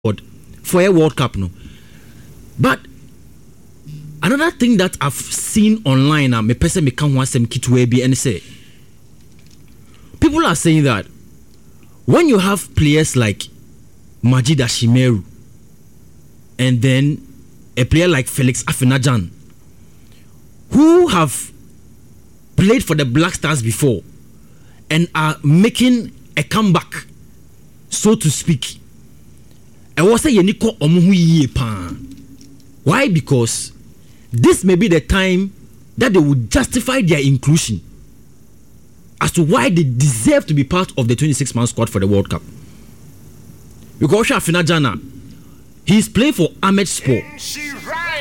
Squad for a World Cup no. But another thing that I've seen online a mepɛ sɛ meka ho asɛm ketewa bi ɛne sɛ people are saying that when you have players like Majid Ashimeru and then a player like Felix Afenajan who have played for the Black Stars before and are making a comeback so to speak, ɛwɔ sɛ yɛn ani kɔ wɔn ho yie paa. Why? Because this may be the time that they will justify their inclusion as to why they deserve to be part of the 26 man squad for the World Cup. Because wohwɛ Afena Gyan a, he is playing for Amedspor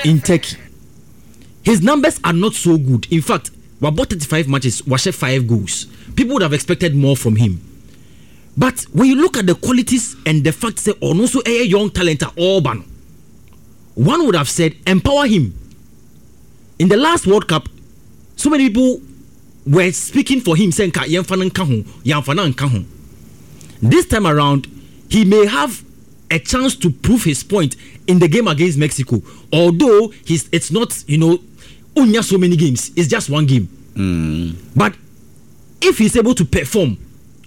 in Turkey. His numbers are not so good. In fact, wabɔ 35 matches, wahyɛ 5 goals. People would have expected more from him. But when you look at the qualities and the fact sɛ ɔno nso ɛyɛ young talent a ɔreba no, one would have said empower him. In the last World Cup, so many people were speaking for him sɛ nka yɛmfa no nka ho, yɛamfa no anka ho. This time around, he may have a chance to prove his point in the game against Mexico. Although he's, it's not, you know, onya so many games, it's just one game. But if he's able to perform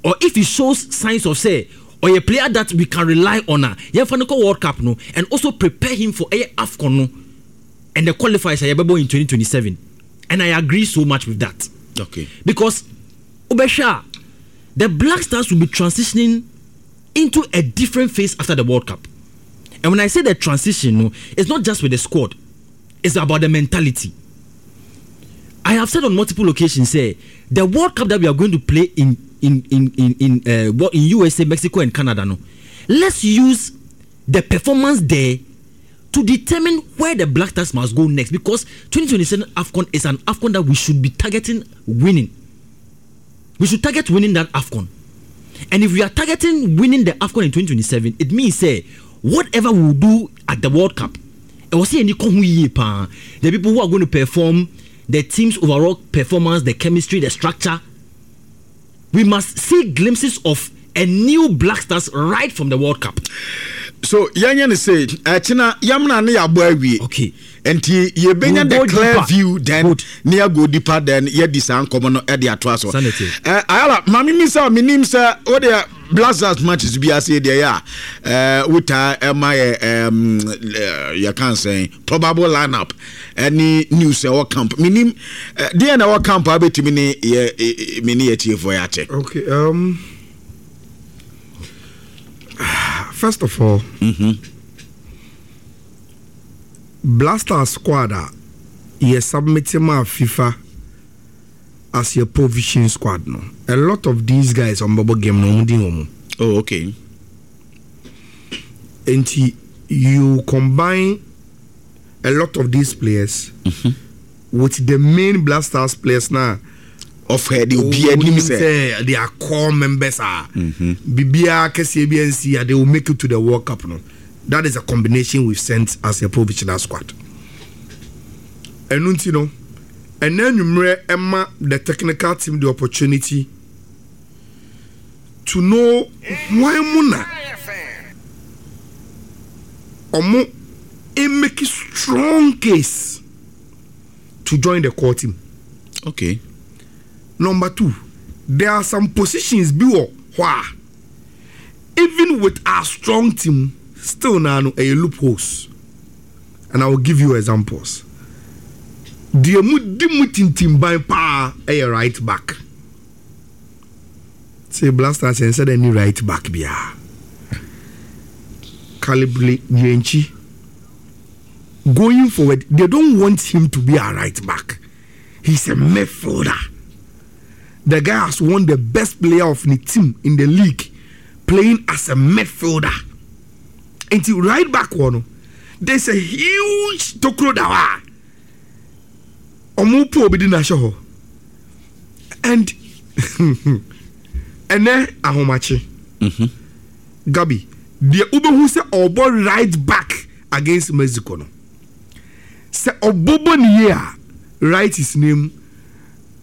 or if he shows signs of sɛ ɔyɛ player that we can rely on a, yɛmfa no kɔ World Cup no and also prepare him for ɛyɛ AFCON no and the qualifiers a yɛbɛbɔ in 2027 and I agree so much with that. Because wobɛhwɛ a the Black Stars will be transitioning into a different phase after the World Cup. And when I say the transition no, it's not just with the squad. It's about the mentality. I have said on multiple occasions sɛ the World Cup that we are going to play in in in in in uh, in USA, Mexico and Canada no, let's use the performance there to determine where the Black Stars must go next because 2027 AFCON is an AFCON that we should be targeting winning. We should target winning that AFCON. And if we are targeting winning the AFCON in 2027, it means sɛ whatever we will do at the World Cup, ɛwɔ sɛ yɛni kɔ ho yie paa. The people who are going to perform, the team's overall performance, the chemistry, the structure, we must see glimpses of a new Black Stars right from the World Cup. So yɛnyɛ no sɛ ɛkyena yɛmena ne yɛabɔ awie. Okay. Nti yɛbɛnya the clear view then ne yɛago deeper then yɛdi saa nkɔmmɔ no de atoa so. Eh, Ayala, ma memi sɛ menim sɛ wodeɛ Black Stars matches bi ase deɛ yɛ a eh, wotaa ɛma yɛ yɛka nsɛn probable lineup ɛne news ɛwɔ camp menim deɛ na ɛwɔ camp a wobɛtumi ne yɛ me ne yɛtiefoɔ yɛ akyɛ. Okay, first of all, Blaster squad a yɛ submit maa FIFA as yɛ provision squad no, a lot of these guys a wɔbɛbɔ game no wɔn din wɔ mu. Oh, okay. Nti you combine a lot of these players with the main Black Stars players na. Of her de obi anim sɛ. They are core members a. Biribiara kɛseɛ bi ansi a they will make it to the World Cup no. That is a combination we've sent as a provisional squad. Ɛno nti no, ɛnɛ anwummerɛ ɛma the technical team the opportunity to know hwan mu na ɔmo make strong case to join the core team. Okay. Number two, there are some positions bi wɔ hɔ a even with our strong team still naa no ɛyɛ loopholes and I will give you examples. Deɛ mu di mu tintimban paa ɛyɛ right back. Sɛ Black Stars yɛn sɛ dɛ ni right back biara. Caleb Yirenkyi going forward they don't want him to be our right back. He's a midfielder. The guy has won the best player of the team in the league playing as a midfielder. Nti right back wɔ no there's a huge tokuro da hɔ a ɔmo po obi di n'ahyɛ hɔ and ɛnɛ ahomakye Gabi deɛ wobɛhu sɛ ɔbɔ right back against Mexico no sɛ ɔbɔbɔ ne yie a write his name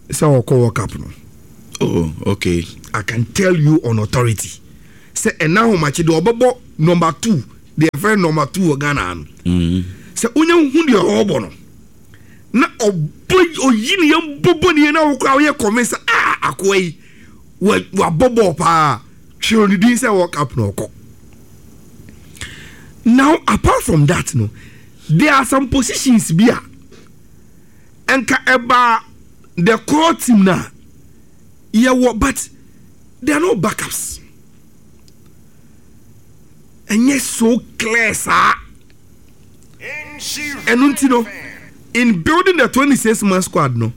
sɛ ɔkɔ World Cup no. Oh, okay. I can tell you on authority sɛ ɛnɛ ahomakye deɛ ɔbɛbɔ number 2. Deɛ yɛfrɛ no number 2 wɔ Ghana ha no. Sɛ wonya hu deɛ ɔrebɔ no na ɔbɔ oyi ne yam bɔbɔ ne yam na wokora woyɛ convince sɛ ah akoa yi wabɔ bɔɔl paa twerɛ ne din sɛ World Cup na ɔkɔ. Now apart from that no there are some positions bi a nka ɛbaa the core team na yɛwɔ but there are no backups. Ɛnyɛ so clear saa. Ɛno nti no, in building the 26 man squad no,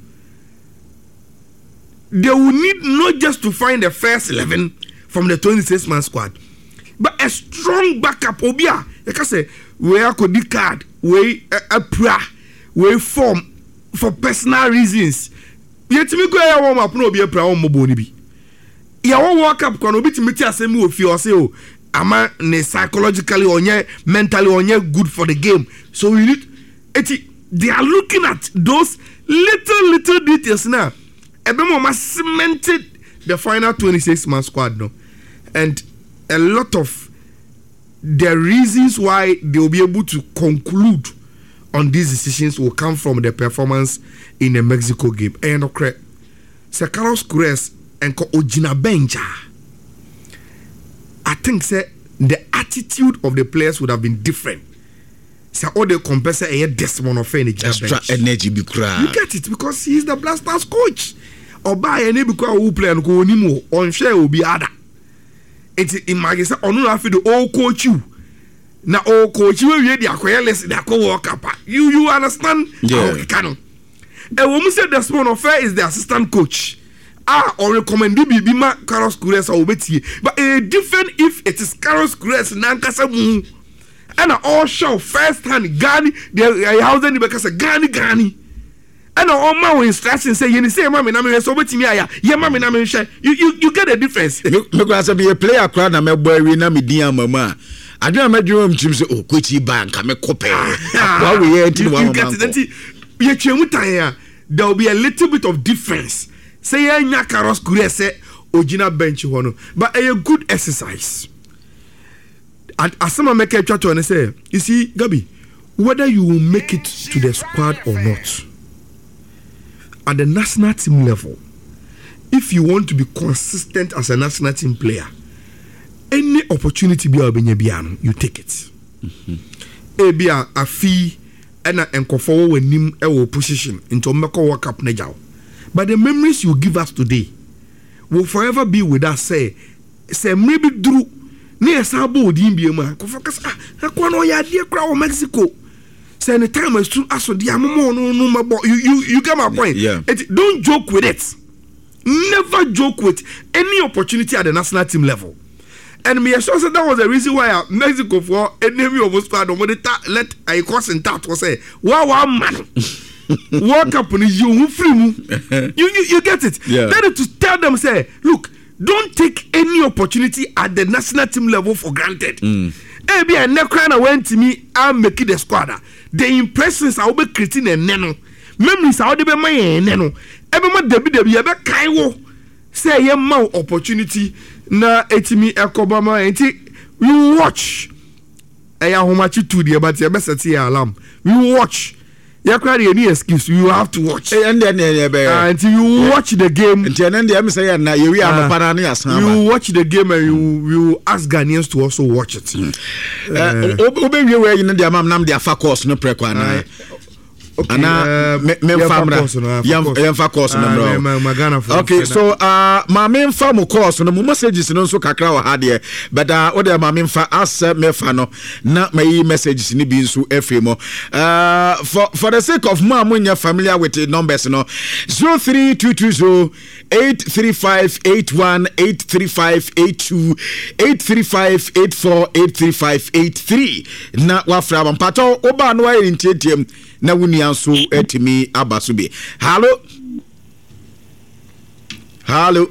they will need not just to find the first 11 from the 26 man squad, but a strong backup. Obi a yɛka sɛ wei akɔdi card, wei apira, wei form for personal reasons. Yɛtumi kɔ ɛyɛ warm up na obi apira wɔn mmɔbɔ no bi. Yɛwɔ World Cup kora no obi tumi te asɛm bi wɔ fie ɔse o ama ne psychologically ɔnyɛ mentally ɔnyɛ good for the game so you need eti they are looking at those little little details na ɛbɛma ɔma cemented the final 26 man squad no and a lot of the reasons why they will be able to conclude on these decisions will come from the performance in the Mexico game. Ɛyɛ nokorɛ. Sɛ Carlos Queiroz nka ogyina bench a, I think sɛ the attitude of the players would have been different. Sɛ ɔde compare sɛ ɛyɛ Desmond Ofei na gyina bench. Extra energy bi koraa. You get it because he is the Black Stars coach. Ɔbaa yɛ ne bi koraa ɔwɔ player no ko onim o, ɔnhwɛ obi ada. Nti imagine sɛ ɔno na afei de ɔɔcoach you. Na ɔɔcoach you awie de akɔyɛ list de akɔ World Cup a. You understand Yeah. ahokeka no. Ɛwɔ mu sɛ Desmond Ofei is the assistant coach a ɔrecommende biribi ma Carlos Queiroz a wɔbɛtie, but ɛyɛ different if it is Carlos Queiroz n'ankasa mu ɛna ɔrehyɛ wo first hand Gani deɛ ɛyɛ Hausa ni bɛka sɛ Gani Gani ɛna ɔma wo instruction sɛ yɛni sɛ yɛma me na mehwɛ sɛ wobɛtumi ayɛ a yɛma me na mehwɛ. You get the difference. Me koraa sɛ meyɛ player koraa na mɛbɔ awie na me din ama mu a, adwene a mɛdwene wɔ me tirim sɛ, oh, coach yi ba nka mɛkɔ pɛɛ. Akoa wei yɛ nti na You wama get it. mankɔ. Nti yɛtwa mu tan a, there will be a little bit of difference sɛ yɛanya Carlos Queiroz sɛ ogyina bench hɔ no, but ɛyɛ good exercise. Asɛm a mɛka atwa toɔ ne sɛ, you see, Gabi, whether you will make it to the squad or not, at the national team level, if you want to be consistent as a national team player, any opportunity bi a wobɛnya biara no, you take it. Ebi a afi ɛna nkɔfoɔ wɔ w'anim ɛwɔ position nti wɔn bɛkɔ World Cup no agya wo. But the memories you give us today will forever be with us sɛ sɛ mmerɛ bi duru na yɛsan bɔ odin bio mu a, nkurɔfoɔ ka sɛ, ah, akoa no ɔyɛ adeɛ koraa wɔ Mexico. Sɛ ne time asu aso deɛ amoma ɔno no mɛbɔ. You get my point? Yeah. Eti, don't joke with it. Never joke with any opportunity at the national team level. And me sure say that was the reason why Mexico for enemy of squad no de ta let I cause in that was say wa wa man World Cup no you who free mu. You get it? Yeah. Then to tell them say look, don't take any opportunity at the national team level for granted. Ebi a ne kra na went me and make the squad. The impressions I will be creating and neno memories I will be my neno. Ebe ma debi debi ebe kai wo say ye ma opportunity na etimi ekoba ma enti we will watch. Eya homachi tu deɛ but ebe set ye alarm. We will watch. Ye kra de any excuse you have to watch. Eh, and then, eh, eh, Until you watch the game. Nti ɛnɛ deɛ ɛmi sɛ yɛ na yɛwi anɔpa na ne yɛasan You aba. watch the game and you will ask Ghanaians to also watch it. Eh, wobɛwie wei ayi no deɛ ama me nam de afa course no prɛko anaa? Okay, Anaa memfa yɛmfa mmra. course no, yɛmfa course. Yɛmfa course no Ah, mmra o. ma Ghanafoɔ Okay, mfrɛ so, ma memfa mo course no, mo messages no nso kakra wɔ ha deɛ, but, wo deɛ ma memfa asɛ mefa no na mayi messages no bi nso afiri mu. For the sake of mo a monyɛ familiar with the numbers no, 03220 835 81 835 82 835 84 835 83 na wafra aba. Mpatɔ wobaa no wayɛ ne ntiantiam na wo nua nso atumi aba so bi. Hallo, hallo.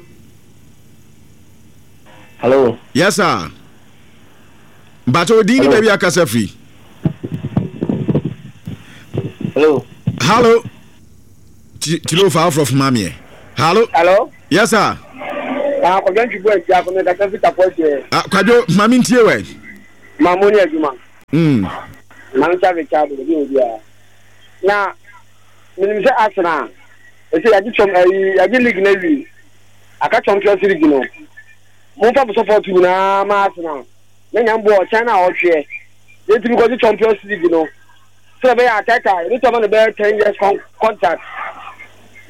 Hello. Yes sir. Mpatɔ odin ni Hello. baabi akasa firi. Hello. Hallo. Tilo fa afro fuma meɛ. Hallo. Hello. Yes sir. Ah, Kwadwo Ntwibu Asia, Kɔmi Kasa Fita Pɔkyɛ. Ah, Kwadwo, ma me ntie wɛ. Ma mo ne adwuma. Mansa Richard obi obiara. Na menim sɛ Arsenal ɛsɛ yɛagye kyɛm ɛyi yɛagye league no awie. Aka Champions League no. Momfa mo support nyinaa ma Arsenal. Na nyame boa ɔkyɛn no a ɔtweɛ. Yɛntumi kɔgye Champions League no. Sɛ ɛbɛyɛ Arteta yɛbɛtumi ama no bɛyɛ 10 years contract.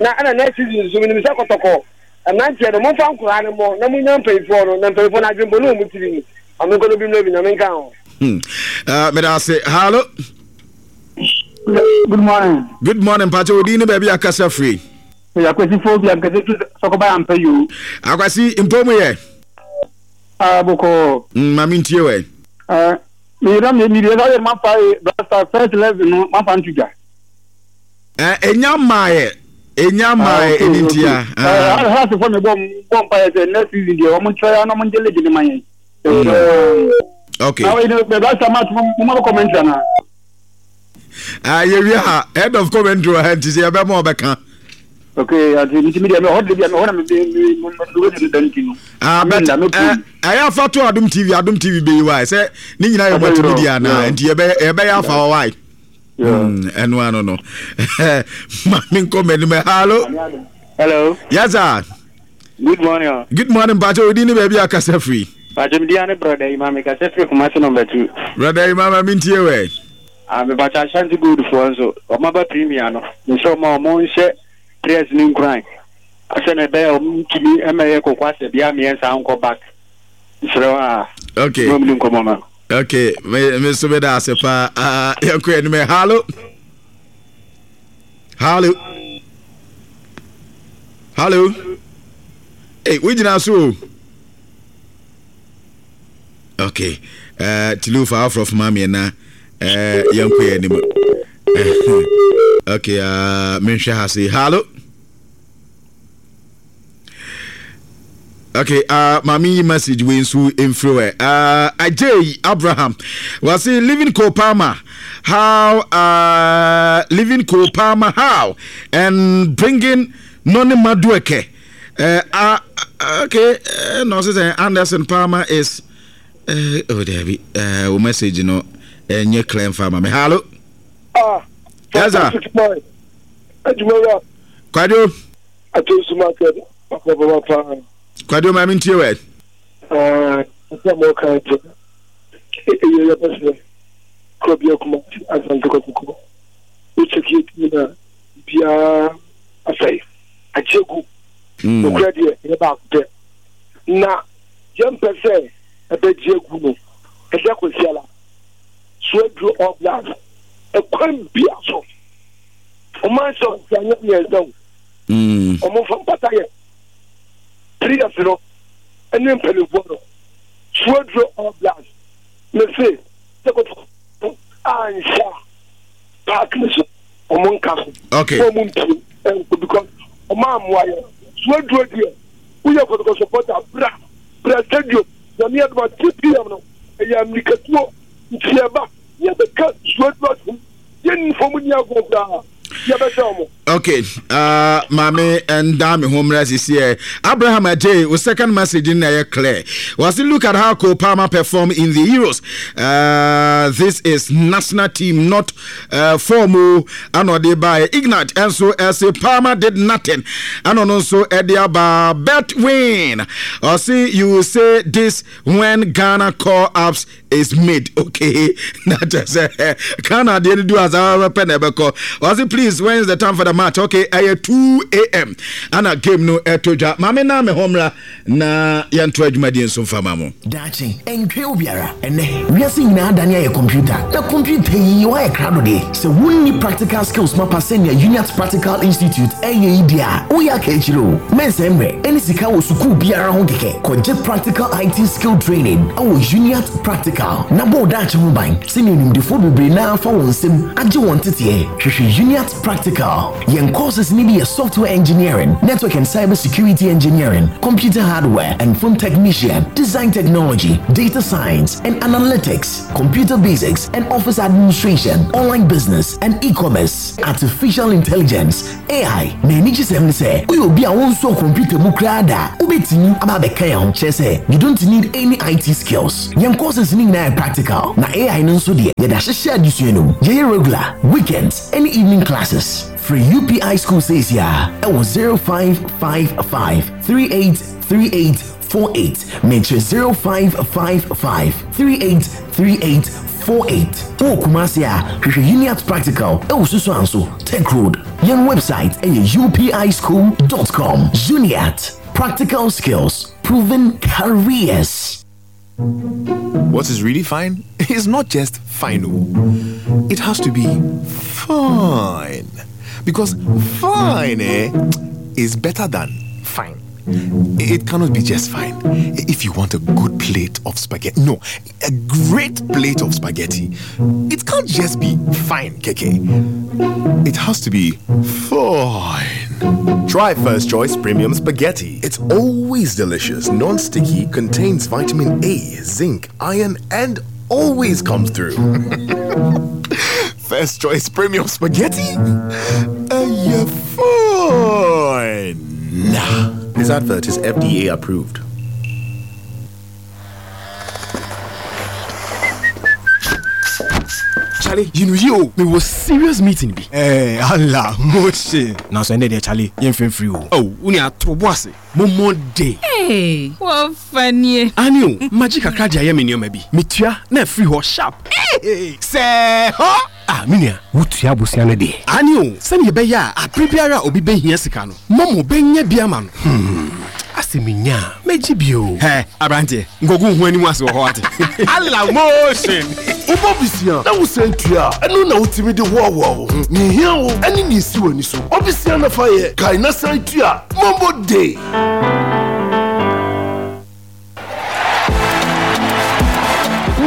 Na ɛna next season nso menim sɛ Kɔtɔkɔ mmeranteɛ no momfa nkoraa no mmɔ na monya mpanyinfoɔ no na mpanyinfoɔ no adwembɔ ne wɔn tiri mu. Ame nkɔ no bi mmerɛ bi Nyame nka ho. Meda ase. Hallo. Good morning. Good morning, Pacho. Odi ne baabi akasa firi. Akwasi fo bi ankasa fi sɔkɔba yɛ ampɛ yoo. Akwasi mpo mu yɛ. Ah, bɔkɔɔ. Maame ntie wɛ. Ah, mi yɛrɛ mi mi yɛrɛ yɛrɛ ma fa ye Black first 11 no ma fa ntu dwa. Eh, enya mmaayɛ. Enya mmaayɛ ɛni ntia. Ah, Hearts fo mi bɔ bɔ mpa yɛ sɛ next season deɛ wɔn ntura ya na wɔn ngye league ne ma yɛn. Okay. Na wɔn yi Black Stars match mo mo ma bɛ commentary ana. Ah, yɛwie ha head of commentary wɔ ha nti sɛ yɛbɛma ɔbɛka. Okay, ati nti mi deɛ mi hɔ de bi a mi hɔ na mi mi mi mi mi da nti no. Ah, but ɛyɛ afa to Adum TV, Adum TV bɛyi wa sɛ ne nyinaa yɛ multimedia na nti yɛbɛyɛ yɛbɛyɛ afa wɔ wa. Ɛno ano no. Ma mi nkɔ m'anim. Hello. Hello. Yes sir. Good morning. Good morning, Mpacho. Odi ni baabi akasa firi. Mpacho mi di ane brother Ima mi kasa firi Kumasi number 2. Brother Ima ma mi ntie wɛ. Ah, me mpacho Ashanti Gold foɔ nso ɔmo aba premier no. Me sɛ ɔmo a ɔmo nhyɛ players ne nkuran. Asɛ na ɛbɛyɛ ɔmo ntumi ɛmɛyɛ koko asɛ bia mmiɛnsa nkɔ back. Nsrɛ a. Okay. Mo ni nkɔmɔ ma. Okay, me me so me da ase pa. Ah, yɛn kɔ anim. Hello. Hello. Hello. Hey, we gyina so o. Okay. Tilu fa afro fuma me na yɛn kɔ anim. Okay, menhwɛ ha se. Hello. Okay, maame yi message wei nso mfiri hɔ. Ajay Abraham wasi living Cole Palmer how, living Cole Palmer how and bringing Noni Madueke. Okay, no, sɛ Anderson Palmer is oh Debbie, wo message no ɛnyɛ clear mfa ma me. Hello. Ah, yes sir. Adwuma Kwadwo. Ato market papa. Kwadwo maame ntie wɛ. Ɛsɛ mo kan nti ɛyɛ yɛ pɛ sɛ kuro bi akuma Asante Kɔtɔkɔ wokyɛki ɛtumi na biara asɛe agye gu nokorɛ deɛ ɛyɛ baako pɛ na yɛmpɛ sɛ ɛbɛgye agu no ɛda Kwasiada so aduro All Blacks ɛkwan bia so ɔman sɛ ɔsɛ anyɛ mmiɛnsa o ɔmo fa mpata yɛ players no ɛne mpanimfoɔ no so aduro All Blacks ne se sɛ Kɔtɔkɔ anhyɛ a park ne so ɔmo nka so okay ɔmo mpie ɛnkɔ because ɔmo amoa yɛ so aduro deɛ woyɛ Kɔtɔkɔ supporter bra bra stadium Nyame adoma 2 pm no ɛyɛ amirikatuo nti ɛba yɛbɛka so aduro atom yɛnni fam ni agorɔ koraa yɛbɛsɛ ɔmo. Okay, maame nda me ho mmerɛ sisi ɛ. Abraham Ajay, o second message na ɛyɛ clear. Wɔsi look at how Cole Palmer perform in the Euros. This is national team not form o. Ɛna ɔde ba Ignat ɛnso ɛsɛ Palmer did nothing. Ɛna ɔno nso ɛde aba bet win. Ɔsi you will say this when Ghana call ups is made, okay. Na kyerɛ sɛ Ghana adeɛ no du asa pɛ na ɛbɛkɔ. Ɔse please, when is the time for the match? Okay, ɛyɛ 2 am ana game no ɛtɔ dwa. Maame na me ho mmra na yɛnto adwumadie nso mfa ma mo. Daakye, ɛntwɛn obiara. Ɛnɛ, wiase nyinaa dane ayɛ kɔmputa. Na kɔmputa yi woayɛ krado deɛ. Sɛ wonni practical skills mapa sɛnea Uniat Practical Institute ɛyɛ yi deɛ a, woyɛ aka akyire o. Mɛnsɛe mmerɛ ɛne sika wɔ sukuu biara ho kɛkɛ. Kɔgye practical IT skill training ɛwɔ Uniat Practical na bɔ wo daakye ho ban sɛnea onimdefoɔ bebree naa fa wɔn nsam agye wɔn teteɛ. Hwehwɛ Uniat Practical. Yɛn courses ni bi yɛ software engineering, network and cyber security engineering, computer hardware and phone technician, design technology, data science and analytics, computer basics and office administration, online business and e-commerce, artificial intelligence, AI. Na ani gye sɛm ne sɛ woyɛ obi a wonsɔ computer mu koraa da, wobɛtumi aba abɛka yɛn ho. Kyerɛ sɛ you don't need any IT skills. Yɛn courses ni nyinaa nyinaa yɛ practical, na AI no nso deɛ, yɛde ahyehyɛ adesua no mu. Yɛyɛ regular, weekends, ne evening classes. Frɛ UPI School seesei ara wɔ 0555 3838 48, mekyerɛ 0555 3838 48. Wowɔ Kumasi a, hwehwɛ Uniat Practical wɔ Susuanso, Tech Road. Yɛn website yɛ upischool dot com. Uniat, practical skills, proven careers. What is really fine is not just fine. Oh. It has to be fine. Because fine eh, is better than fine. It cannot be just fine. If you want a good plate of spaghetti, no, a great plate of spaghetti, it can't just be fine, KK. It has to be fine. Try First Choice Premium Spaghetti. It's always delicious, non sticky, contains vitamin A, zinc, iron, and always comes through. First Choice Premium Spaghetti? Uh, fine. This advert is FDA approved. Charlie, you know you me was serious meeting bi. Eh, Allah, motion. Na so ende de Charlie, yɛn fɛn free o. Oh, wo ni ato bo ase. Mo mo de. Hey, wo fanie. Ani o, magye kakra de ayɛ me nneɛma bi. Metua na afiri hɔ sharp. Hey, sɛ hɔ. Ah, me nua, wotua abosea no deɛ? Aane o, sɛdeɛ ɛbɛyɛ a aberɛ biara a obi bɛhia sika no, Momo bɛnya bi ama no. Hmm, asɛ menya a, mɛgye bi o. Hɛ, aberanteɛ, nkɔgu wo ho anim ase wɔ hɔ wate. Allah motion! Wobɔ bisia na wosan tua a, ɛno na wotumi de hoahoa wo ho. Nea ehia wo ne nea esi w'ani so. Bɔ bisia na fa yɛ, kae na san tua. Momo Day!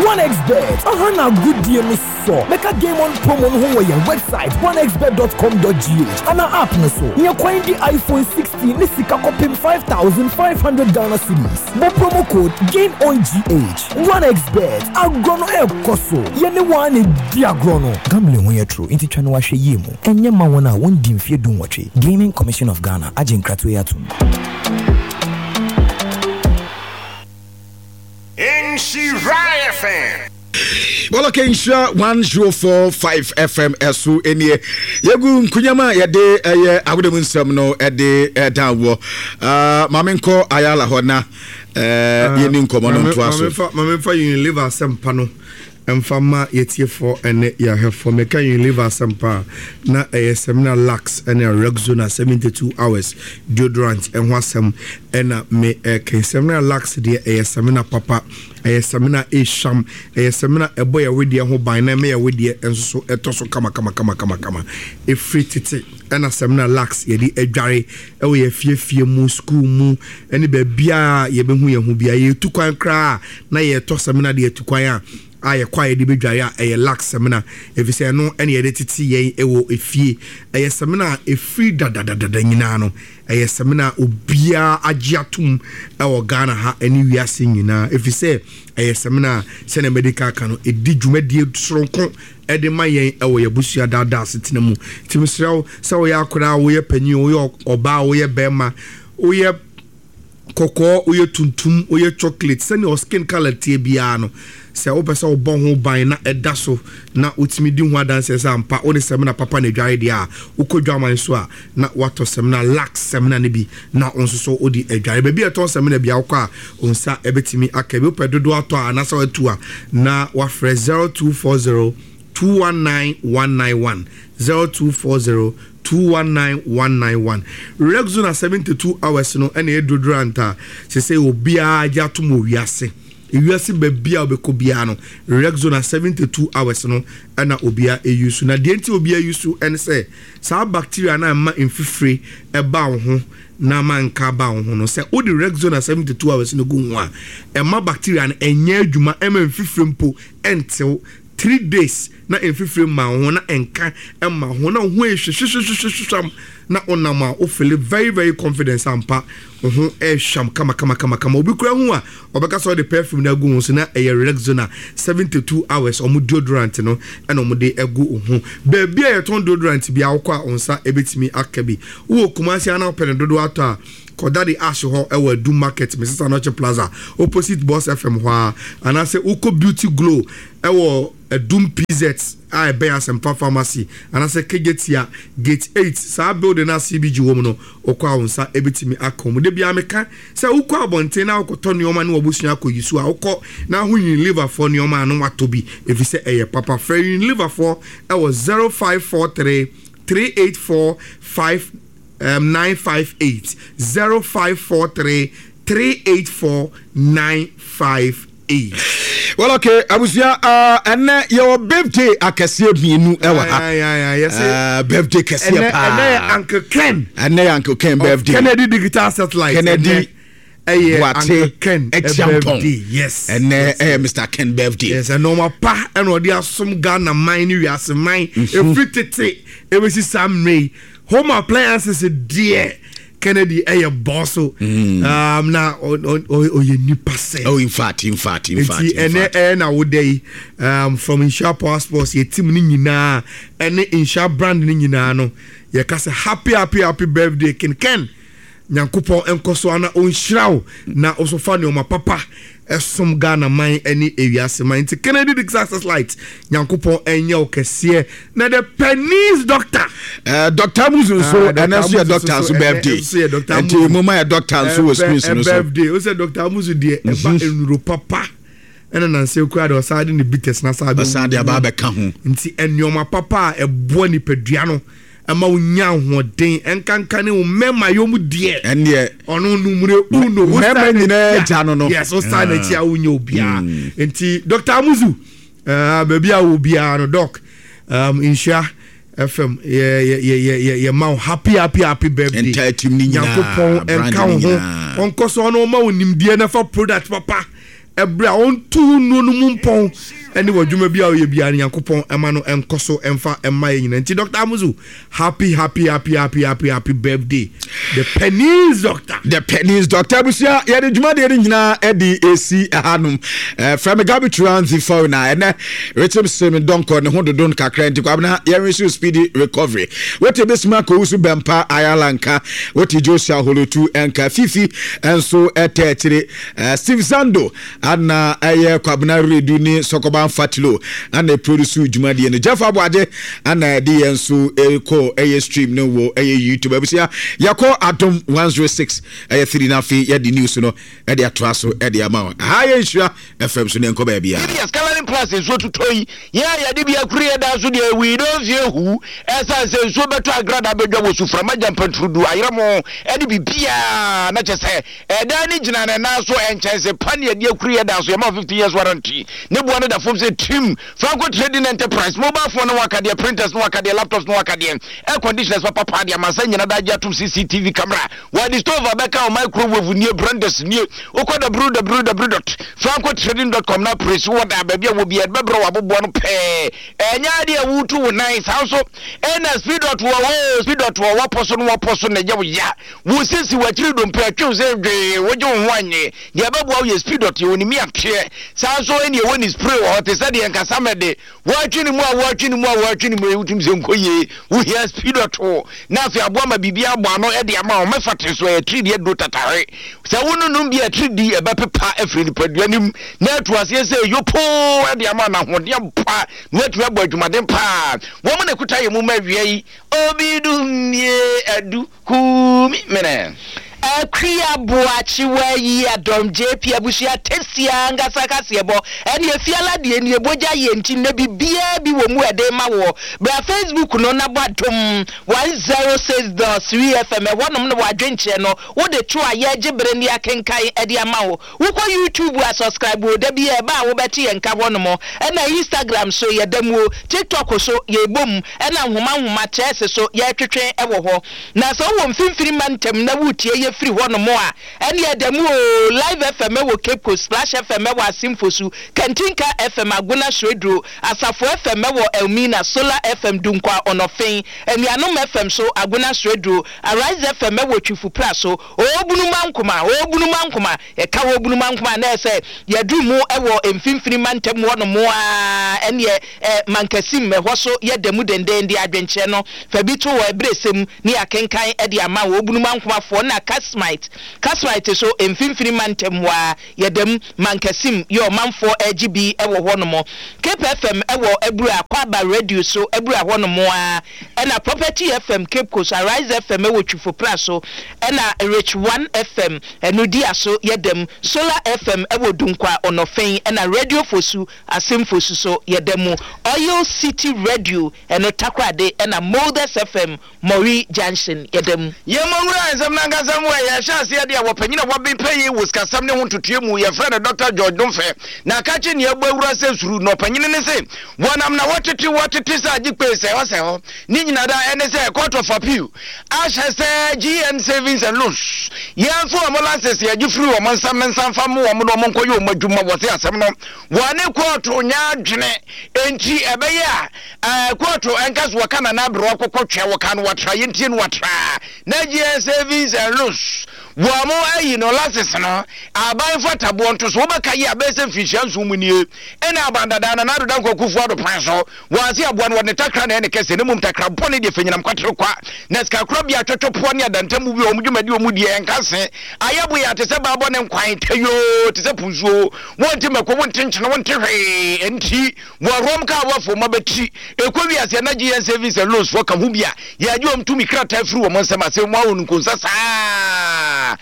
OneXBet, aha na agodie no sɔ. Bɛka Game On promo no ho wɔ yɛn website onexbet.com.gh anaa app no so. Nya kwan di iPhone 16 ne sika kɔpem 5,500 Ghana cedis. Bɔ promo code GameOnGH. OneXBet, agorɔ no ɛrekɔ so. Yɛne wo ara na ɛdi agorɔ no. Gambling ho yɛ toro nti twa no ahwɛyie mu. Ɛnyɛ mma wɔn a wɔndi mfeɛ dunwɔtwe. Gaming Commission of Ghana agye nkratoɔ yi atom. Nhyira FM. Bɔlɔkɛ Nhyira 104.5 FM ɛso nie. Yɛgu nkunyam a yɛde ɛyɛ awoda mu nsɛm no ɛde ɛda wɔ. Ah, maame nkɔ Ayala hɔ na eh, ah, yɛni nkɔmmɔ no ntoa so. Maame mfa Unilever asɛmpa no mfa ma yɛtiefoɔ ne yɛahwɛfoɔ. Meka Unilever asɛmpa a, na ɛyɛ Samina Lux ne Rexona 72 hours deodorant ho asɛm na me ɛka. Samina Lux deɛ ɛyɛ samina papa, ɛyɛ samina ɛhwam, ɛyɛ samina ɛbɔ yɛ wedeɛ ho ban na ɛma yɛ wedeɛ nso so ɛtɔ so kama kama kama kama kama. Ɛfiri tete ɛna Samina Lux yɛde adware ɛwɔ yɛ afiefie mu, sukuu mu ɛne baabiara yɛbɛhu yɛn ho biara. Yɛtu kwan koraa na yɛtɔ samina de atu kwan a, a yɛkɔ a yɛde bɛdware a, ɛyɛ Lux samina, ɛfiri sɛ ɛno na yɛde tete yɛn wɔ efie. Ɛyɛ samina a ɛfiri dadadadada nyinaa no, ɛyɛ samina a obiara agye atom wɔ Ghana ha ne wiase nyinaa, ɛfiri sɛ ɛyɛ samina a sɛdeɛ madi kan aka no, ɛdi dwumadie soronko de ma yɛn wɔ yɛn abusua daadaa asetena mu. Nti mesrɛ wo, sɛ woyɛ akwadaa, woyɛ panin, woyɛ ɔbaa, woyɛ barima, woyɛ kɔkɔɔ, woyɛ tuntum, woyɛ chocolate, sɛnea wo skin colour teɛ biara no, sɛ wopɛ sɛ wobɔ ho ban na ɛda so na wotumi di ho adanseɛ sɛ ampa wode samina papa na adware deɛ a, wokɔ dwaman so a na woatɔ samina, Lux samina no bi na wo nso so wode adware. Baabi a ɛtɔn samina biara wokɔ a wo nsa bɛtumi aka bi. Wopɛ dodoɔ atɔ a anaasɛ woatu a na woafrɛ 0240 219 191, 0240 219 191. Rexona 72 hours no na ɛyɛ deodorant a sesei obiara agye atom wɔ wiase. Ewiase baabi a wobɛkɔ biara no, Rexona 72 hours no na obiara use. Na deɛ nti obiara use ne sɛ, saa bacteria no a ɛma mfifire ba wo ho na ama nka aba wo ho no, sɛ wode Rexona 72 hours no gu ho a, ɛma bacteria no ɛnyɛ adwuma, ɛma mfifire mpo ɛntew. 3 days na mfifire mma wo ho na nka mma wo ho na wo ho yɛ hwehwehwehwehwam na wonam a wo feel very very confident ampa wo ho ɛhwam kama kama kama kama. Obi kura ho a ɔbɛka sɛ ɔde perfume no agu ho so na ɛyɛ Rexona 72 hours ɔmo deodorant no ɛna ɔmo de agu wo ho. Baabi a yɛtɔn deodorant bi a wokɔ a wo nsa ɛbɛtumi aka bi. Wowɔ Kumasi a na wopɛ no dodoɔ atɔ a. Kɔ Daddy Ash hɔ wɔ Adum Market, Mrs Anokye Plaza, opposite Boss FM hɔ ara, anaasɛ wokɔ Beauty Glow wɔ Adum PZ a ɛbɛn Asɛmpa Pharmacy anaasɛ Kejetia Gate 8, saa building no a CBG wɔ mu no, wokɔ a wo nsa bɛtumi aka wɔn. Da biara meka sɛ wokɔ abɔnten na wokɔtɔ nneɛma ne w'abusua akɔyi so a, wokɔ na ho Unileverfoɔ nneɛma a na woatɔ bi ɛfiri sɛ ɛyɛ papa. Frɛ Unileverfoɔ wɔ 0543 384 5 um, 958 0543 384 958. Well, okay, abusua, ɛnɛ yɛwɔ birthday akɛseɛ mmienu ɛwɔ ha. Birthday kɛseɛ paa. Ɛnɛ yɛ Uncle Ken. Ɛnɛ yɛ Uncle Ken birthday. Kennedy Digital Satellite. Kennedy. Ɛyɛ Boate Uncle Ken Acheampong. birthday. Yes. Ɛnɛ ɛyɛ Mr Ken birthday. Yes, ɛnɔɔma pa ɛna ɔde asom Ghana man ne wiase man. Efiri tete ebesi saa mmerɛ yi. Home appliances deɛ Kennedy ɛyɛ bɔso. Um, na ɔyɛ nipa sɛ. Oh, in fact, in fact, in fact. Nti ɛnɛ ɛyɛ na woda yi um, from Nhyira Power Sports yɛ team ne nyinaa ɛne Nhyira brand ne nyinaa no yɛka sɛ happy happy happy birthday Ken Ken. Nyankopɔn nkɔ so ara na ɔnhyira wo na wo so fa nnoɔma papa som Ghana man ne ewiase man. Nti Kennedy Dick Success Light, Nyankopɔn nyɛ wo kɛseɛ. Na the Pennies Doctor. Uh, Doctor Amuzu nso, ah, ɛnɛ nso yɛ doctor nso birthday. Nti mo ma yɛ doctor nso wɔ screen no so. Birthday, o sɛ Doctor Amuzu deɛ ɛba mhm. nnuro papa. Ɛna nansa kura deɛ ɔsan de ne bitters na san de aba abɛka ho. Nti nneɛma papa a ɛboa nipadua no. Ɛma wo nya ahoɔden ɛnkanka ne wo mmarima yɔ mu deɛ. Ɛnneɛ. Ɔno numere uno. Mmarima nyinaa gya no no. Yes, o san n'akyi a wonyɛ obiara. Mm. Nti Dr. Amuzu, uh, baabi a wɔ biara no doc, um, nhyira FM yɛ yɛ yɛ yɛ yɛ ma wo happy happy happy birthday. Entire team ni nyinaa. Nyankopɔn ɛnka wo ho. Ɔnkɔ so ɔno ɔma wo nimdeɛ na fa product papa. Ɛberɛ a ɔntu wo nnuro no mu mpɔn ne w'adwuma bi a woyɛ biara no Nyankopɔn ɛma no ɛnkɔ so ɛmfa ɛmma yɛ nyina nti Doctor Amuzu happy happy happy happy happy happy birthday the Pennies Doctor. The Pennies Doctor abusua yɛde dwumadeɛ no nyinaa ɛde ɛsi ɛhanom frɛ me Gabi Turanzi fɔw na ɛnɛ rekyem se me dɔnkɔ ne ho dodo no kakra nti kwabena yɛnwe so speedy recovery wote bɛsima kɔwu so bɛmpa ayala nka wote Joshua holotu ɛnka fifi ɛnso ɛtɛ akyire Eh, Steve Zando ana ɛyɛ Kwabena Redu ne Sɔkɔban Fatilo ana ɛproduce dwumadie no. Jeff Aboagye ana ɛde yɛn nso ɛkɔ ɛyɛ stream no wɔ ɛyɛ YouTube. Abusua yɛkɔ Adom 106 ɛyɛ 3 na afei yɛde news no ɛde atoa so ɛde ama wo. Ha yɛ nhyira FM so ne nkɔ baabi a. Yɛde Scaling Plus nsuo totɔ yi, yɛn a yɛde bi akuri yɛn dan so deɛ we don't fear who, ɛsiane sɛ nsuo bɛtɔ agrada bɛdwa wɔ suframa gyampantrudu ayerɛmo ɛne biribiara na kyɛ sɛ Ɛdan no gyina ne nan so, nkyɛnse pa ne yɛde akuru yɛ dan so, yɛma wo 15 years warranty. Ne boɔ no da fam sɛ tim. Franco Trading Enterprise, mobile phone ne ho akadeɛ, printers ne ho akadeɛ, laptops ne ho akadeɛ, air conditioners papa paa de amansan nyina daa gye atom, CCTV camera, wɔde stove abɛka wo, microwave nie, blenders nie. Wokɔ www dot francotrading dot com na presi wɔ daa baabi a wɔ biara, yɛde bɛbrɛ wo aboboa no pɛɛ. Ɛnyɛ adeɛ a wotu wo nan, saa nso ɛna speed dot wɔ hɔ o, speed dot wɔ wɔpɔ so no wɔpɔ so na ɛyɛ wo ya. Wo sisi, w'akyiri dompe atwe wo sɛ dwee, wogye wo ho annye. Deɛ ɛbɛboa wo yɛ speed dot, yɛwɔ ne miateɛ. Saa nso ɛne ɛwɔ ne spray wɔ hɔ te sɛ deɛ nkasa mɛde. Woatwe ne mu a woatwe ne mu a woatwe ne mu yi wotumi sɛ nkɔ yie. Wohia speed dot na afei aboa ma biribi abɔ ano de ama wo. Mɛfa te so ɛyɛ atiridii aduro tatahwe. Sɛ wononom bi a atiridii ɛbɛpepa afiri nipadua no mu na atu aseɛ sɛ yopoo de ama no ahoɔden ampa na woatumi abɔ adwumaden paa. Wɔn na ɛkuta yɛn mu ma awia yi. Obi dum nie adu. Kumi mene. Akua Boakye Wayi Adom JP abusua tasty ankasa kaseɛbɔ ɛne efiala deɛ nie bogya yɛ nti nnɛ bibiaa bi wɔ mu ɛde rema woɔ bra Facebook no na bɔ Adom 106.3 FM ɛhɔnom na wadwenkyerɛ no wode to a yɛgye bere ne akenkan ɛde ama wo Wokɔ YouTube a subscribe o da biaa ɛba a wobɛte yɛn nka hɔnom ɛna Instagram so yɛda mu o TikTok so yɛbɔ mu ɛna nhoma nhoma chess so yɛtwetwe wɔ hɔ na sɛ wowɔ mfimfini mantam na woretie yɛ firi hɔnom a ɛneɛ ɛda mu o Live FM wɔ Cape Coast Splash FM wɔ Asin Fosu Kantinka FM Agona Sureduro Asafo FM wɔ Elmina Solar FM Dunkwa Ɔnɔfen Anuanom FM so Agona Sureduro Arise FM wɔ Twifo Praso Obunumankoma, Obunumankoma, yɛka Obunumankoma a na ɛyɛ sɛ yɛaduru mu wɔ mfimfini mantam hɔ nom ara, ɛnneɛ ɛ, Mankasim, ɛhɔ so yɛ da mu denden de adwenkyerɛ no fa bi to hɔ ɛberɛ sɛ mu ne yɛakenkan de ama Obunumankomafoɔ na ka. Kasmite. Kasmite so mfimfini mantam hɔ ara, yɛda mu, Mankasim yɛ ɔmanfoɔ regye bi wɔ hɔ nom. Cape FM wɔ Abura, Kwaba Radio so Abura hɔ nom ara, ɛna Property FM Cape Coast, Arise FM wɔ Twifo Praso, ɛna Rich One FM ɛno Diaso yɛda mu, Solar FM wɔ Dunkwa Onɔfen, ɛna Radio Fosu Asemfosu so yɛda mu, Oil City Radio ɛno Takoradi, ɛna Molders FM Mɔwi Junction yɛda mu. Yɛmmɔ nwura nsɛm no ankasa mu ɛ. Yɛhyɛ aseɛ deɛ wɔ panyin a waben pɛ yi wɔ sikasɛm ne ho ntotoeɛ mu. Yɛfrɛ no Dɔkta George Domfɛ. Na akakye nea ɛbɔ awura sɛ suru. Na ɔpanyini no se wɔnam na wɔtete wɔtete sɛ agye kpee sɛ hɔ sɛ hɔ. Ne nyina da ɛne sɛ Court of Appeal ahyɛ sɛ GN Savings and Loans yɛmfa wɔn license yɛgye firi wɔn nsam no nsa mfa mmo wɔn na wɔn nkɔyɛ wɔn adwuma. Wɔse asɛm no wɔne kɔɔto nyɛ adwene enti ɛbɛyɛ a Ɛɛ kóòtù ɛnka so wɔka nana aberewa kɔkɔ twɛ wɔka no wɔtra yɛntie no wɔtra na gyeɛ savings and loans wɔn mo ayi no lasis no aban fataboɔ nto so wobɛka yi a bɛyɛ sɛ mfinhyia nson mu nie ɛna aban dadaa nana ado dankwa kufu ado pan so wɔn ase aboa no wɔde ne takra na ɛne kɛse ne mmom takra bɔne deɛ fanyinam kwatere kwa na sikakorɔ bea twɛtwɛpoɔ ne adantamu bi wɔn dwumadi wɔn deɛ ɛnka se ayɛ boyɛ te sɛ baabɔ ne nkwan tayoo te sɛ punsuo wɔnte mako wonte nkyene wonte hwee ɛnti Wɔ Rome kaa wɔ fo ma bɛtiri ɛkɔ wiase a na gye yɛn savings and loans foɔ ka ho bi a yɛagye wɔn tumi krataa firi wɔn nsam asɛm mu ahonu nkonsa saa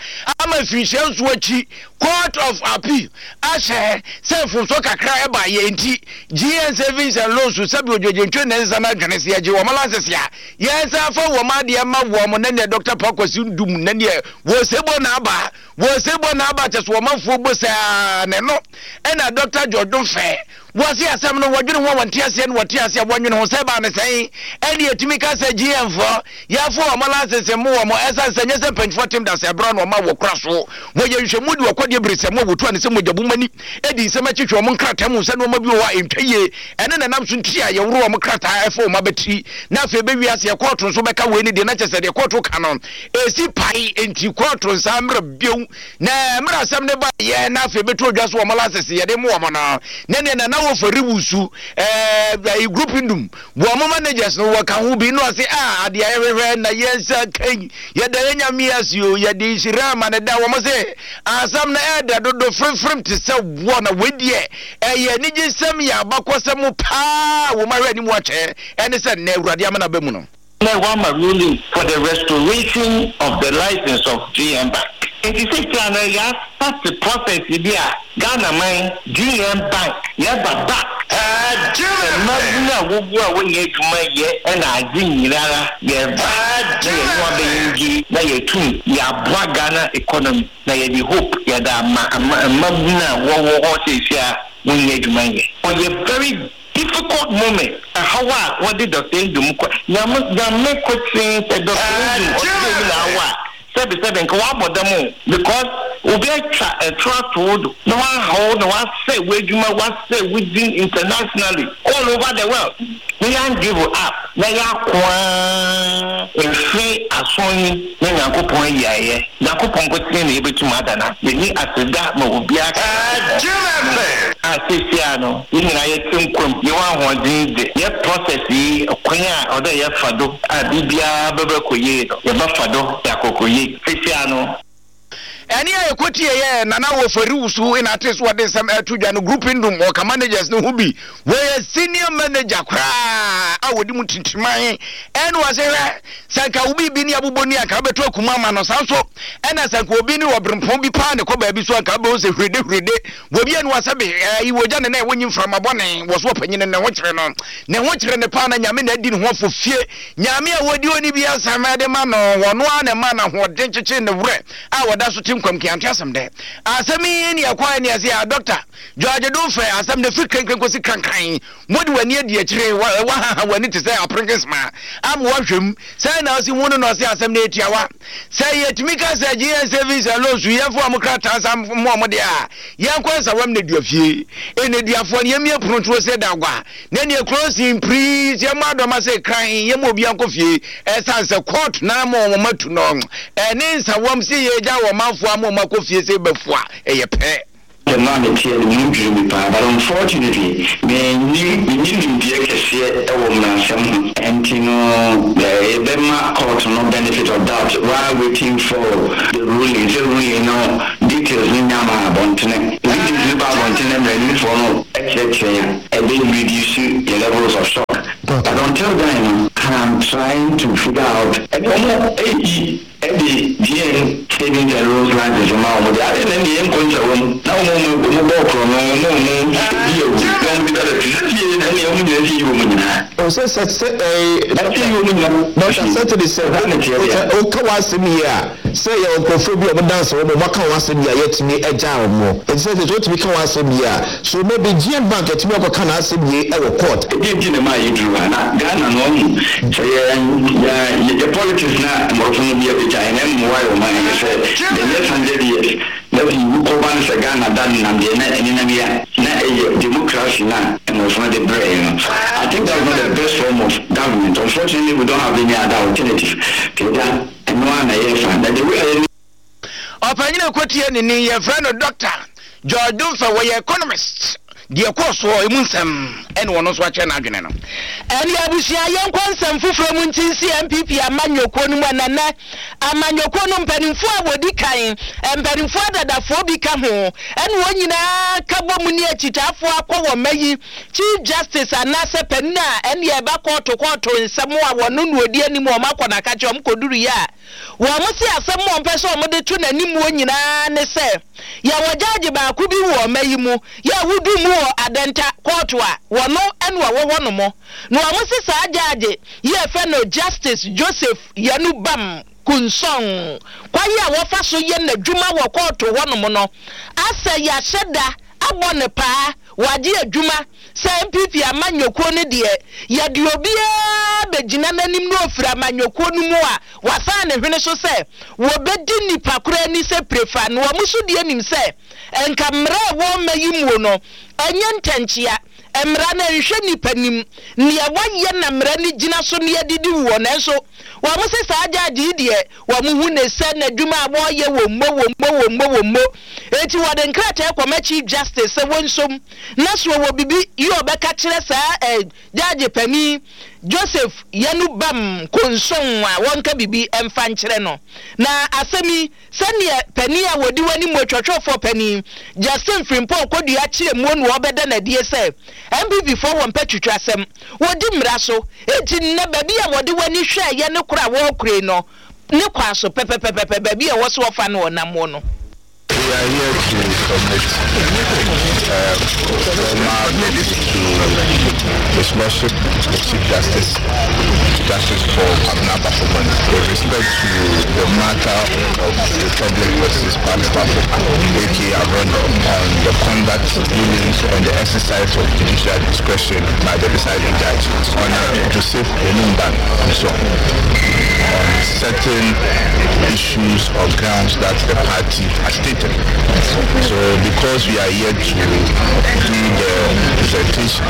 ama mfirinhyia nso akyi Court of Appeal ahyɛ sɛ mfomsoɔ kakra ɛba yɛ nti gye yɛn savings and loans sɛbi odwogyentwe ne nsa no adwene sɛ yɛgye wɔn lances a yɛn nsa afa wɔn adeɛ ma wɔn na neɛ Dr. Pakwasi Ndum na neɛ wɔ sɛbɔ na aba wɔ sɛbɔ na aba kyɛ so wɔmanfoɔ bɔ saa na ɛno ɛna Dr. George Fɛ Wɔse asɛm no wɔdwene ho a wɔnte aseɛ na wɔte aseɛ a wɔnwene ho sɛ ɛbaa no sɛn ɛne yɛtumi ka sɛ GM foɔ yɛfo wɔn license mmo wɔn ɛsiane sɛ nyɛ sɛ mpanyinfoɔ tem da sɛ ɛberɛ na wɔma wɔ kora so wɔyɛ nhwɛmu de wɔkɔdeɛ bere sɛ mo a wɔtu ane sɛ mogya bu mani ɛdi nsɛm akyi hwɛ wɔn nkrataa mu sɛ nneɛma bi wɔ hɔ a ɛntwa yie ɛne na nam so nti a yɛworo wɔn krataa ɛfo wɔn abatiri na afei bɛwi aseɛ kɔɔto nso bɛka wei ne deɛ na kyɛ sɛ deɛ kɔɔto ka no ɛsi pae nti kɔɔto nsa mmerɛ bio Na mmerɛ asɛm no baeɛ na afei bɛto odwa so wɔn lasese yɛde mo wɔn no na neɛ nana wɔ fari wusu ɛɛ group ndum wɔn managers no wɔka ho bi na ɔse a adeɛ yɛhwehwɛ na yɛn nsa kan yɛda yɛn nyame ase o yɛde nhyira ama ne da wɔn se asɛm no ɛɛdɛ dodo fremfrem te sɛ woɔ na wei deɛ ɛyɛ anigyesɛm yɛ abakɔsɛm paa wɔn ahwɛ anim akyɛ ɛne sɛ nnɛ awurade amena ba mu no. Na wɔama ruling for the restoration of the license of GM Bank. Nti seesei no yɛastarte process bi a Ghana man, GM Bank, yɛba back. Mmabun a wogu a wonnya adwuma yɛ na adze nyinara yɛba na yɛnye hɔn abɛyɛ engage na yɛtum yɛaboa Ghana economy na yɛdze hope yɛdze ama mmabun a wɔwɔ hɔ seesei a wonnya adwuma nyɛ. Ɔyɛ very Difficult moment, ɛhaw a wɔde Doctor Nduom kɔ, Nyame, Nyame kotsee sɛ Doctor Nduom ɔtse dɛ bi na awo a, sɛbe sɛbe nka ɔabɔ dam o, because obi atwa ɛtor ato wo do na ɔahaw wo na ɔasɛɛ w'edwuma, ɔasɛɛ wo dzin internationally all over the world. Na yɛann give up na yɛako ara mfe ason yi na Nyankopɔn ayi ayɛ. Nyankopɔn nkotsee na yebotum ada no ase. Yenyi aseda ma obiara ka Nyankopɔn ho a seseiara no hɛn nyina yɛtse nkwa mu, yɛwɔ ahoɔdzen dze, yɛ process yi kwan a ɔwɔ dɛ yɛfa do a biribiara bɛbɛkɔ yie no, yɛbɛfa do dze akɔkɔ yie. Seseiara no. Ɛnne a yɛkɔtieeɛ yɛ Nana Ofori Wusu na ate so ɔde nsɛm ɛreto dwa no Group Ndum ɔka managers no ho bi wɔyɛ senior manager koraa a wɔdi mu tintiman ɛne wɔse hwɛ sɛ nka wo biribi ne abobɔ ni anka wobɛto akuma ama no saa nso ɛna sɛ nka obi ne ɔberempɔn bi paa ne kɔ baabi so anka wobɛhu sɛ hwirede hwirede wɔbi anu asɛ be ɛyi wɔgya ne na ɛwɔ nyi mframa bɔne wɔ so ɔpanyini ne ho kyerɛ no ne ho kyerɛ ne paa na nyame na adi ne ho afɔ fie Nyame a wɔdi ɔni bi asɛm de ma no, ɔno ara na ɛma no ahoɔden kyekye ne werɛ a wɔda so te nkwam keanto asɛm dɛ. Asɛm yi ne ɛkɔɛ ne ɛse a Dɔkta George Domfɛ asɛm no firi krenkren kɔsi krankran. Mode w'ani adi akyire, wahaha w'ani te sɛ aperenkesma ama woahwɛ mu. Sɛn na ɔsi hu no na ɔse asɛm no yɛ tiawa. Sɛ yɛtumi ka sɛ GN Savings and Loans yɛmfa wɔn krataa nsa mma wɔn deɛ a, yɛnkɔ nsawam nneduafie. Nneduafoɔ no yɛmmie pono nto ose da gua. Na neɛ closing please yɛmmɔ adɔma sɛ kran yɛma obia nkɔ fie ɛsan sɛ court na ama wɔn atu no ɛne nsawam sɛ yɛgya wɔn manfoɔ ama wɔn akɔ fie sɛ bɛfua ɛyɛ pɛ. Asɛm no a meteɛ no mu dwiri me paa but unfortunately mennim menni nimdeɛ kɛseɛ. nimdeɛ wɔ mmaransɛm ho, ɛnti no yɛbɛma court no benefit of doubt while waiting for the ruling, sɛ ruling no details no nya ma abɔntene, details no ba abɔntene na mmaranimfoɔ no kyerɛkyerɛ yɛn a, ɛbɛ reduce yɛn levels of shock. But until then no, I'm trying to figure out ɛne wɔn ayi de GN savings and loans license ma wɔn deɛ, adɛn na ɛnneɛ yɛnkɔ nsawam na wɔn a wɔn bɔɔ korɔno na wɔn di awu na wɔn deda da te sɛ fie ɛnneɛ wɔn nyinaa fie yi wɔn nyinaa. O sɛ sɛ sɛ ɛɛ Ɛfie yi wɔn nyinaa Dɔkta fie. Sɛtede sɛ Saa na ɛteɛ deɛ. wo ka w'asɛm yie a sɛ yɛwɔ nkurɔfoɔ bi a wɔn danse wɔn wɔn aka wɔn asɛm yie a yɛatumi agyaa wɔn nti sɛ sɛ wotumi ka w'asɛm yie a so maybe GN Bank atumi akɔka n'asɛm yie ɛwɔ court. Ɛdeɛn nti na ɛmaa yɛduru ha? Na Ghana no wahu sɛ yɛ yɛ yɛ politics na mmorɔfo no bi abɛgya yɛn ɛmmoa yɛ ɔman yi sɛ the next hundred years na sɛ yiwu kɔba no sɛ Ghana da nenam deɛ na ɛnenam yi a na ɛyɛ democracy no a mmorɔfo no de brɛɛ yɛn no I think that's not the best form of government unfortunately we don't have any other alternative nti agya ɛno ara na yɛrefa na the way a yɛne Ɔpanyin a ɛkɔtie ne ni, yɛfrɛ no Dɔkta George Domfeh, wɔyɛ economist. Deɛ ɛkɔɔ soɔ, emu nsɛm ɛna ɔno nso akyerɛ n'adwene no. Ɛne abusua yɛnkɔ nsɛm foforɔ mu nti nsi NPP amanyɔkuo no mu ɛna nnɛ amanyɔkuo no mpanimfoɔ a wɔdi kan, mpanimfoɔ adadafoɔ bi ka ho, ɛna wɔn nyinaa ka bɔ mu ne akyitaafoɔ akɔ wɔn mma yi Chief Justice anaasɛ panin a ɛneɛ ɛba kɔɔto kɔɔto nsɛm a wɔno na ɔdi anim wɔn akɔ n'akakye wɔn kɔduruiɛ a Wɔn se asɛm a wɔpɛ sɛ wɔde to n'animuo nyinaa ne sɛ, yɛwɔ gyagye baako bi wɔ ɔma yi mu, yɛ a wodu mu wɔ Adenta kɔɔto a, wɔno na ɔwɔ hɔ nom. Na wɔn se saa gyagye yi a yɛfrɛ no Justice Joseph Yanu Bam Kunsong, kwan a wɔfa so yɛ n'adwuma wɔ kɔɔto hɔ nom no, asɛ yɛahyɛ da abɔ no paa, wagye adwuma sɛ NPP amanyɔkuo no deɛ, yɛde obiara bɛgyina n'anim na ɔfiri amanyɔkuo no mu a, wasan ne hwene so sɛ wɔbɛdi nnipa korɔ ani sɛ prefa na wɔn nso deɛ nim sɛ nka mmara a ɛwɔ ɔma yi muo no ɛnyɛ ntɛnkyea, mmara no ɛnhwɛ nnipa nim neɛ wayɛ na mmara no gyina so na yɛde di woɔ nanso wɔn se saa judge yi deɛ wɔn hu ne sɛ n'adwuma a wɔreyɛ wɔ mmo wɔ mmo wɔ mmo wɔ mmo enti wɔde nkrataa kɔma Chief Justice sɛ wɔnsom na so ɔwɔ bibi yi ɔbɛka kyerɛ saa eh, Gyagye panin Joseph Yanu Bam Konson a wɔnka biribi mfa nkyerɛ no. Na asɛm yi, sɛdeɛ panin a wɔdi w'anim otwɔtwɔfoɔ panin Justin Frimpong Kodua kyerɛ muo no ɔbɛda no adie sɛ NPP foɔ wɔmpɛ twitwasɛm, wɔdi mmara so, enti nnɛ baabi a wɔde w'ani hwɛɛyɛ ne koro a wɔrekorei no ne kwaa so pɛpɛpɛpɛpɛ baabi a ɛwɔ sɛ wɔfa no ɔnam muo no. We are here to submit um, formal notice to His Lordship, the Chief Justice, Justice Paul Abna Baffoe-Bonnie, with respect to the matter of Republic versus Kwame Baffoe, aka Abrono, on the conduct, dealings, and the exercise of judicial discretion by the presiding judge, Honor Joseph Enumban so on certain issues or grounds that the party has stated. So because we are yet to do the presentation,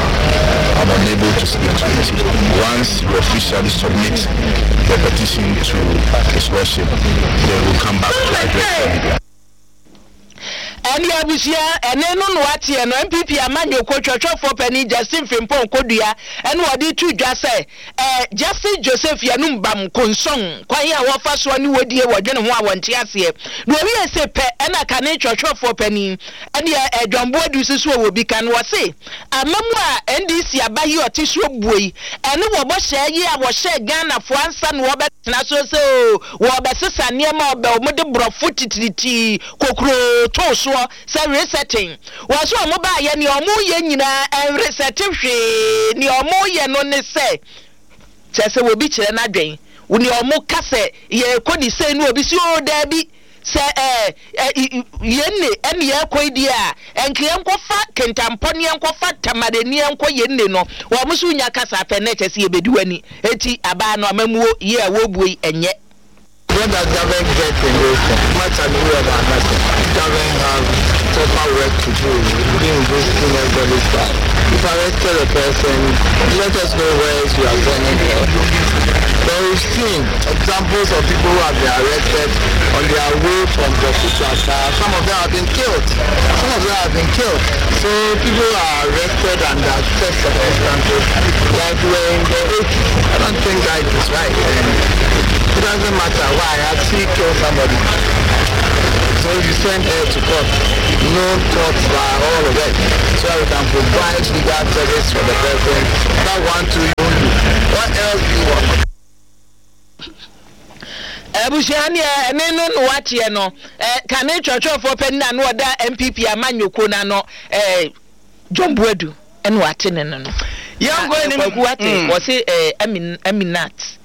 I'm unable to speak to it. Once we officially submit the petition to His Lordship, then we'll come back to address the media. Ɛne abusua ɛne no na wateɛ no NPP amanyɔkuo twɔtwɔfoɔ panin Justin Frimpong Kodua ɛna ɔde to dwa sɛ ɛ Justice Joseph Yanum Bam Konsong kwan a wɔfa soɔ ne wɔdie wɔdwene ho a wɔnte aseɛ na ɔwie se pɛ ɛna kane twɔtwɔfoɔ panin ɛneɛ ɛ John Boadu nso so ɔwɔ bi ka no ɔse amamu a NDC aba yi ɔte soɔ buo yi ɛne wɔ bɔhyɛ yi a wɔhyɛɛ Ghanafoɔ ansa na wɔbɛ tena so sɛ oo wɔrebɛsesa nneɛma a ɔbɛ wɔn de borɔfo titiritii kokuroo too soɔ sɛ resetting. Wɔ so wɔn baayɛ nea wɔn reyɛ nyinaa ɛnresɛte hwee nea wɔn reyɛ no ne sɛ kyerɛ sɛ obi kyerɛ n'adwen nea wɔn ka sɛ yɛrekɔ ne sei no obi si oo daabi Sɛ ɛ ɛ yɛn nne ɛne yɛrekɔ yi deɛ a, ɛnka yɛnkɔfa Kentampɔ ne yɛnkɔfa Tamale ne yɛnkɔ yɛn nne no, wɔn nso nya kasa pɛ na ɛkyɛ sɛ yɛbɛdi w'ani. Enti abaa no amammuo yi a wɔrebuo yi, ɛnyɛ. What does government get in this thing? Much agree about nothing. Government have. proper work to do in risking everybody's life. If arrested a person, let us know where you are sending her. But we've seen examples of people who have been arrested on their way from Boku to Accra. Some of them have been killed. Some of them have been killed. So people are arrested under such circumstances like we were in the 80s. I don't think that is right. And it doesn't matter why. I see kill somebody. So if you send her to court, no courts by all of it, so that we can provide legal service for the person. That one too you won't do. What else do you want? Abusua neɛ ɛne no na wateɛ no eh, kane twerɛtwerɛfoɔ panin a na ɔda NPP amanyɔkuo no ano eh, John Boadu ɛna wate ne no no. Yɛnkɔ anim. Kwaku wate Mm. wɔse eh, Amin, Aminat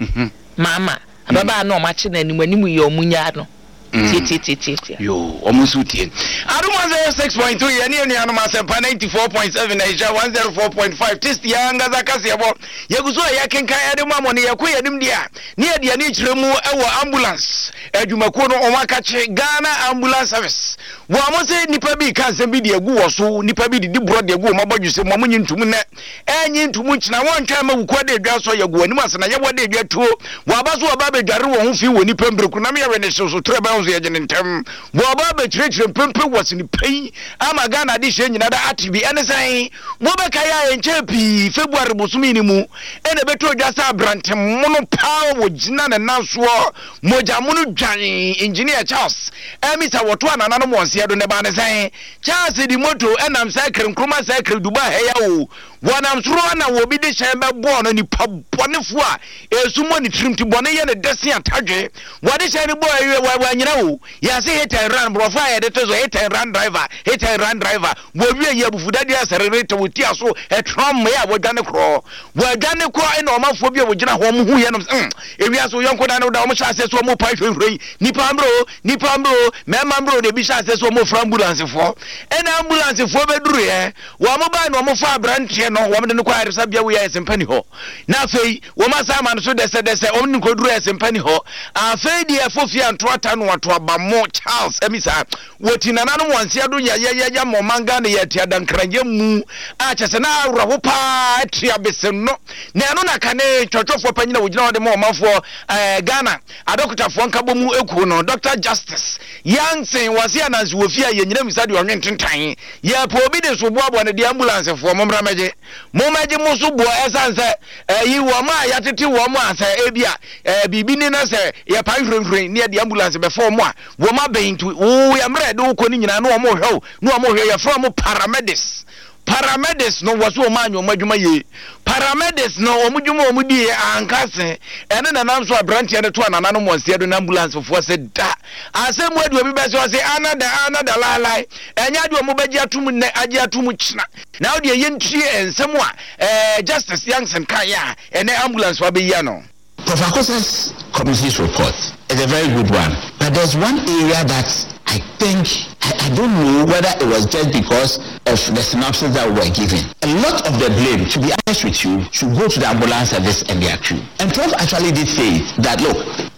Maama ababaa na ɔmo akye no anim anim yɛ ɔmo nyaa no. Tiatiatiatia. Yoo, wɔn nso tie. Adom 106.3 yɛne yɛn nuanom Asɛmpa 94.7 na Nhyira 104.5 Tist yɛn ankasa kaseɛbɔ. Yɛgu so a yɛkenkan ɛde ma mo no yɛkɔ yɛn anim deɛ a ne yɛde ani kyerɛ mu wɔ ambulance adwumakuo no wɔn akakye Ghana Ambulance Service. Wɔn se nnipa bi ka nsɛm bi de agu wɔ so, nnipa bi didi borɔ de agu wɔn abɔdwesɛ mu, wɔn nyi ntum nnɛ. Ɛnye nto mu nkyena, wɔntwɛn mma wukuo ada adwa asɔ, yɛgu w'anim ase na yɛwɔ ada adwa tuo. Wɔaba so wɔba abɛdware wɔn ho fi wɔ nnipa mprɛku nam yɛwe ne hyew so torɛ bɛn ho so yɛgye ne ntɛm. Wɔaba abɛkyerɛkyerɛ mpempe wɔ sini pa yi ama Ghana adehyeɛ nyina da ate bi. Ɛne sɛn? Mobɛkae a ɛnkyɛɛ pii February bosome no mu ɛna ɛbɛtɔɔ dwa sɛ aberante mono paa wɔgyina ne nan soɔ mogya mono dwan Engineer Charles Amisa wɔtoa nananom wɔn seɛ do na ɛbaa ne sɛn? Charles de moto nam Circle Nkrumah Circle Dubai ha yi a oo, wɔnam soro hɔ na obi de hyɛn bɛbɔɔ no, nipa bɔnefoɔ a esu mmɔ ne tirim ti bɔne yɛ ne dɛ se atadwe, wɔde hyɛn no bɔɔ awie wɔ wanyina oo, yɛase hit and run, borɔfo a yɛde to so hit and run driver, hit and run driver, wɔwie yi abufudadeɛ asɛrere te wo ti aso ɛtrɔm mmea a wɔadwane korɔ, wɔadwane korɔ ɛna ɔmanfoɔ bi a wɔgyina hɔ wɔn hu yɛ nom sɛ mm, ewiase wo yɔnko dan no da wɔn hyɛ aseɛ so wɔn pa hwehwɛ yi, nipa mmerɛ o, Nnipa mmerɛ o, mmarima mmerɛ o, na ebi hyɛ aseɛ sɛ wɔrefrɛ ambulancefoɔ. Ɛna ambulancefoɔ bɛduruiɛ, wɔn bae na wɔfaa aberanteɛ no, wɔn de no kɔ ayaresabea wei ayɛsɛmpa ni hɔ. Na afei, wɔn asan ama no so dɛsɛdɛsɛ, wɔn de no kɔduru ayɛsɛmpa ni hɔ. Afei deɛ ɛfo fie anto ata no ato aba mo, Charles Amisa, wɔti nananom wɔn nseɛ do yayayaya ma ɔman Ghana yɛ ati adankranyɛ mu a kyɛ sɛ na awerɛho paa ati abese no. Na ɛno na kane twɔtwɔfoɔ panyin a wɔgyina hɔ de ma ɔmanfoɔ ɛɛ Ghana Adɔkotafoɔ Nkabɔmu Ekuo no, Dɔkta Justice Yankson, wɔse ananse wɔ fie a yɛnyina misa deɛ ɔnwe ntentan. Yɛpɛ obi de so boaboa no deɛ ambulancefoɔ mommra mmɛgye. Mommɛgye mo so boɔ ɛsiane sɛ ɛyi wɔn a yɛatete wɔn a sɛ ebi a ɛɛ biribi ni na sɛ yɛpae hwirenhwiren ne yɛde ambulance bɛfa wɔn a wɔn abɛn nti wo yɛ mmerɛ yɛde wo kɔ no nyinaa na wɔn rehwɛ wo na wɔn rehwɛ yɛfrɛ wɔn paramedics. Paramedics no wɔse wɔn anyɛ wɔn adwuma yie. Paramedics no wɔn dwuma a wɔn diiɛ anka se ɛne na nam so abranteɛ no to anananom wɔn seɛ do na ambulance foɔ se da asɛm mu adi obi bɛse ɔse ana da ana da laelae ɛnyɛ adeɛ wɔn bɛgye atum nnɛ agye atum kyena na wodeɛ yɛntie nsɛm a ɛɛ Justice Yankson kaeɛ a ɛnɛ ambulance foɔ abɛyi ano. Prof. Akosa's committee's report is a very good one, but there's one area that I think, I, I don't know whether it was just because of the synopsis that we were given. A lot of the blame, to be honest with you, should go to the ambulance service and their crew. And Prof actually did say that, look,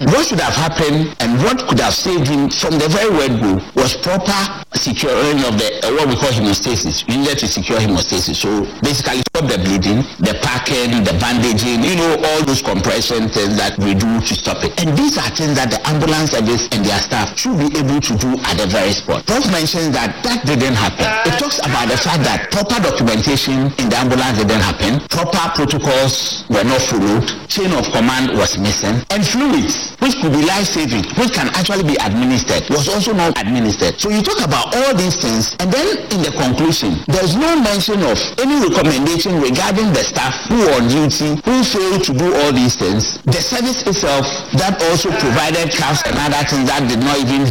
what should have happened and what could have saved him from the very word go was proper securing of the uh, what we call hemostasis. You needed to secure hemostasis. So basically stop the bleeding, the packing, the bandaging, you know, all those compression things that we do to stop it. And these are things that the ambulance service and their staff should be able to do at the very spot. Prof mentions that that didn't happen. It talks about the fact that proper documentation in the ambulance didn't happen, proper protocols were not followed, chain of command was missing, and fluids, which could be life-saving, which can actually be administered, was also not administered. So you talk about all these things, and then in the conclusion, there's no mention of any recommendation regarding the staff who were on duty, who failed to do all these things, the service itself that also provided cuffs and other things that did not even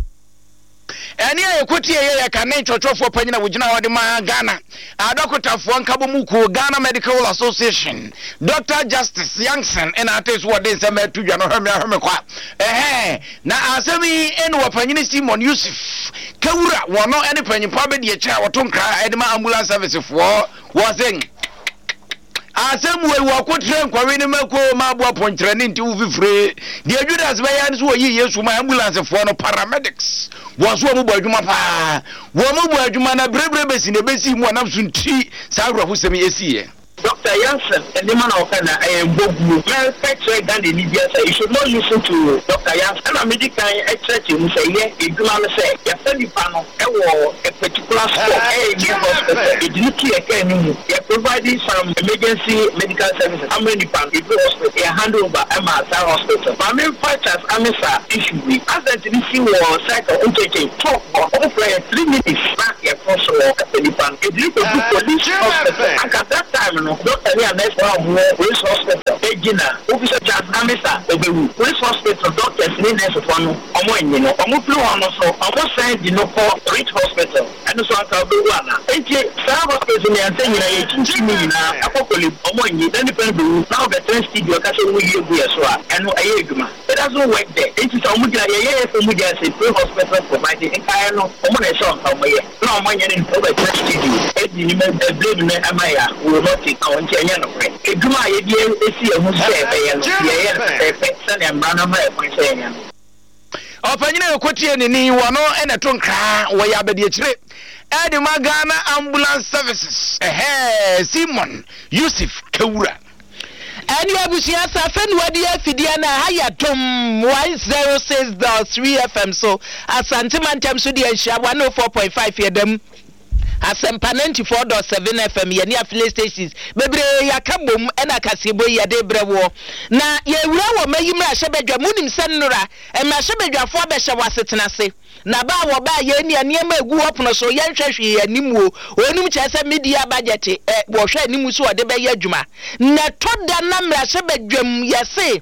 Ɛnne a ɛkɔtie yɛ yɛ kane kyerɛkyerɛfoɔ panyin a wɔgyina hɔ de ma Ghana adɔkotafoɔ nkabɔmu kuo Ghana Medical Association Dr. Justice Yankson ɛna ate so wɔde nsɛm ɛto dwa no hwɛ me ahwɛ me kwa ɛhɛn na asɛm yi ɛne wɔ panyin Simon Yusuf Kawura wɔn ɛne panyinpa abɛdi akyire a wɔto nkra ɛde ma ambulance service foɔ wɔ se. Asɛm wei, wɔko trɛ nkɔwe ne mako ma aboa pɔnkyerɛne nti wo fifire. Deɛ Judas bɛyɛ ne sɛ wɔyii Yesu maa ambulancefoɔ no, paramedics. Wɔn nso wɔn bɔ adwuma paa. Wɔn bɔ adwuma na berɛberɛ bɛsi na ɛbɛsii mu a nam so nti saa awerɛhosɛm yi ɛsiiɛ. Doctor Yansen nneɛma na ɔka na ɛyɛ mboguo. Mɛ ka kyerɛ Ghanani biara sɛ you should not listen to Doctor Yansen. Ɛna me di kan kyerɛkyerɛ mu sɛ yɛ yɛdwuma no sɛ yɛfa nipa no wɔ a particular spot ɛyɛ nyɛ hospital yɛde no to yɛ car no mu yɛ provide some emergency medical services ama nipa no yɛduru hospital yɛ hand over ma saa hospital. Ma me nfa Charles Amissah issue wei. Accident no si wɔ circle nkyɛnkyɛn top hɔ ɔmo frɛ yɛ 3 minutes na yɛ kɔ soro hɔ ɛpɛ nipa no yɛde no kɔdu police hospital anka that time no doctor ne a nurse foɔ a ɔmo wɔ police hospital ɛgyina wobisa Charles Amissah ɔbɛwu police hospital doctors ne nurse foɔ no ɔmo annye no ɔmo firi hɔ no so ɔmo san di no kɔ Ridge hospital ɛno so anka ɔbɛwu ana nti saa hospitals mmiɛnsa nyinaa yɛ kyinkyim ne nyinaa ɛkɔ Korle-Bu ɔmo annye na nipa no bɛwu na ɔbɛtena studio ɛka sɛ ɔmo yi agu yɛ so a ɛno ɛyɛ adwuma. It doesn't work there nti sɛ ɔmo gyina yɛyɛ yɛ sɛ ɔmo gyina sɛ pre hospital providing nkaeɛ no ɔmo na ɛsɛ ɔnka ɔmo yɛ na ɔmo anyɛ no nti ɔbɛtena studio ɛdi nim ɛ blame no ɛma yɛ a we will not take our nti ɛnyɛ nokorɛ adwuma a yɛde asi yɛn ho so sɛ yɛbɛyɛ no yɛyɛ no pɛpɛɛpɛ sɛnea mmara no ama yɛ kwan sɛ yɛnyɛ no. Ɔpanyin a yɛkɔtie ne ni wɔ no na ɛto nkra wɔyɛ abadiakyire ɛde ma Ghana Ambulance Services ɛhɛɛ Simon Yusuf Kawura. Ɛne abusua safe no adi afidie no a ha yɛ Dom 106.3 FM so Asante mantam so deɛ nhyira 104.5 yɛda mu Asɛmpa 94.7 FM yɛne affiliate stations bebree yɛaka bom ɛna kaseɛbɔ yi yɛde brɛ woɔ na yɛwura wɔ mayi mmarahyɛbadwa mu wonim sɛ nnora mmarahyɛbadwafoɔ abɛhyɛ wɔ asetena ase Na ba a wɔbaa yɛn nea nneɛma egu hɔ pono so yɛnhwɛ hwee anim o onim kyerɛ sɛ media budget ɛ wɔhwɛ anim so ɔde bɛyɛ adwuma na ɛtɔ da na mmarahyɛbadwam yɛse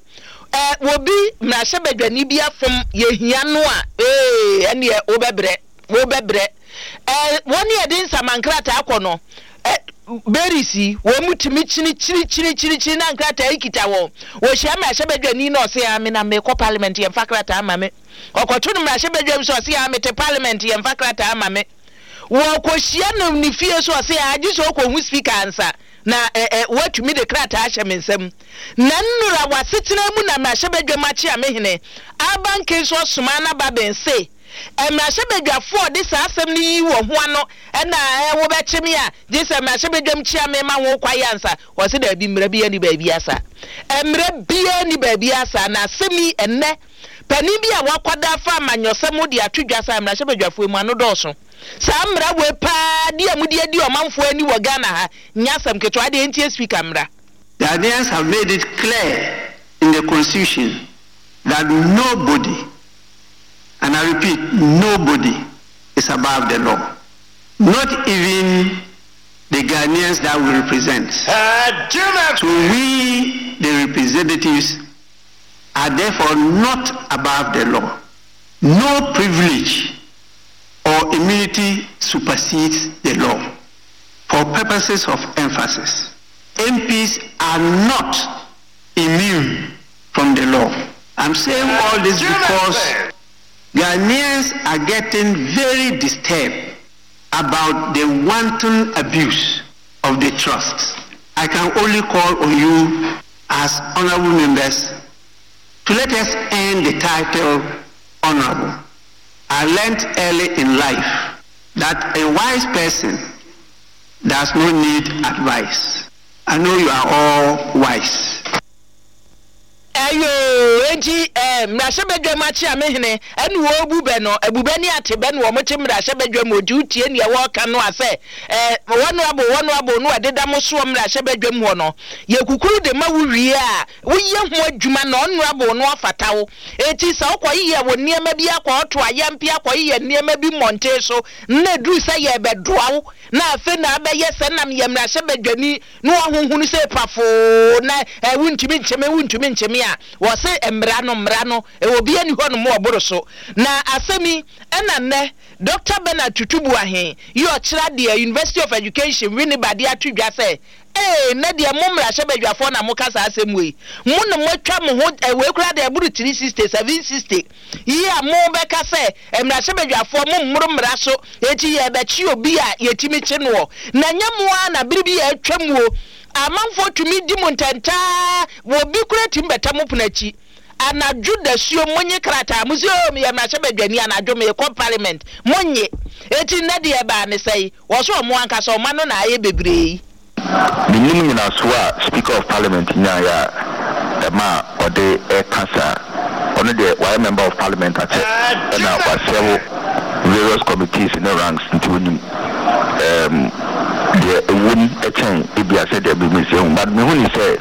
ɛ wɔbi mmarahyɛbadwani bi afom yɛhia no a ee ɛneɛ wobɛbrɛ wobɛbrɛ ɛ wɔn yɛde nsamankrataa kɔ no ɛ berries yi wɔn mu tumi kyini kyini kyini kyini kyini na nkrataa yi kita wɔn wɔhyia mmarahyɛbadwani na ɔse a me na mekɔ parliament yɛmfa krataa ma me Ɔkɔto no mmarahyɛbadwam sɛ ɔse aa mete parliament yɛmfa krataa ma me. Wɔkɔhyia no ne fie so ɔse aa gye sɛ ɔkɔhu speaker ansa na ɛ ɛ watumi de krataa ahyɛ me nsam. Na nnora w'asetena mu na mmarahyɛbadwam akyeamehene Alban Kingsford Sumana Bagbin se mmarahyɛbadwafoɔ a ɔde saa asɛm no yi wɔ ho ano na ɛ wobɛkye me a gye sɛ mmarahyɛbadwam kyeame ma ho kwae ansa. Ɔse daabi mmara biara nni baabiara saa. Mmara biara nni baabiara saa na asɛm yi ɛnnɛ Panin bi a wakwadaa fa amanyɔsɛm ho de ato dwa sɛ mmarahyɛbadwafoɔ mu ano dɔɔso. Saa mmara wei paa di a mode adi ɔmanfoɔ ani wɔ Ghana ha nyɛ asɛm ketewa adeɛ ntie Speaker mmra. Ghanaians have made it clear in the constitution that nobody, and I repeat, nobody is above the law. Not even the Ghanaians that we represent. So we, the representatives, are therefore not above the law. No privilege or immunity supersedes the law. For purposes of emphasis, MPs are not immune from the law. I'm saying all this because Ghanaians are getting very disturbed about the wanton abuse of the trust. I can only call on you as honorable members to let us earn the title honorable. I learned early in life that a wise person does not need advice. I know you are all wise. Ɛyoo, enti eh, mmarahyɛbadwam akyeamehene ɛne wɔrebu bɛ no, abubɛ ne atebɛ na wɔte mmarahyɛbadwam, ɔgye wo tie nea wɔreka no a sɛ eh, honourable, honourable no a ɛdeda mo soɔ mmarahyɛbadwam hɔ no, yɛ kukuru de ma wo wie a, woyɛ ho adwuma na honourable no afata wo. Enti sɛ wokɔyeyɛ wo nneɛma bi akɔɔto ayampe akɔyeyɛ nneɛma bi mmɔnten so na ɛduru sɛ yɛrebɛdoa wo na afei na abɛyɛ sɛ na meyɛ mmarahyɛbadwani na wɔahohunu sɛ pafoo na eh, wontumi nkye me, wontumi nkye me a, wɔse mmara no, mmara no, eh, obiara nni hɔnom a ɔboro so. Na asɛm yi, ɛna nnɛ Dɔkta Bernard Tutu Boahen yi ɔkyerɛ adeɛ, University of Education, Winneba de ato dwa sɛ, Ee, nnɛ deɛ mo mmarahyɛbadwafoɔ na moka saa asɛm wei. Mo na moatwa mo ho, eh, wei koraa deɛ ɛboro 360, 760. Yi a mobɛka sɛ mmarahyɛbadwafoɔ mo mmoro mmara so enti yɛrebɛkye obi a yɛtumi kye noɔ. Na ɛnyɛ mo ara na bere bi a atwam o, Amanfoɔ tumi di mo ntɛntaa, obi koraa tumi bɛtɛ mo pono akyi anadwo dasuo, monye krataa, mo se oo meyɛ mmarahyɛbadwani anadwo merekɔ parliament, monnye. Enti nnɛ deɛ ɛbaa ne sɛn? Wɔ so ɔmo ankasa ɔma no na ayɛ bebree yi. Mennim nyinasoɔ a Speaker of Parliament nyaeɛ a ɛmaa ɔde reka saa. Ɔno deɛ wayɛ Member of Parliament akyɛ ɛna wasɛvo various committees ne ranks nti ɔnim ɛɛm deɛ ɛwom kyɛn ebia sɛdeɛ me mesi ahu. But mehu ne sɛ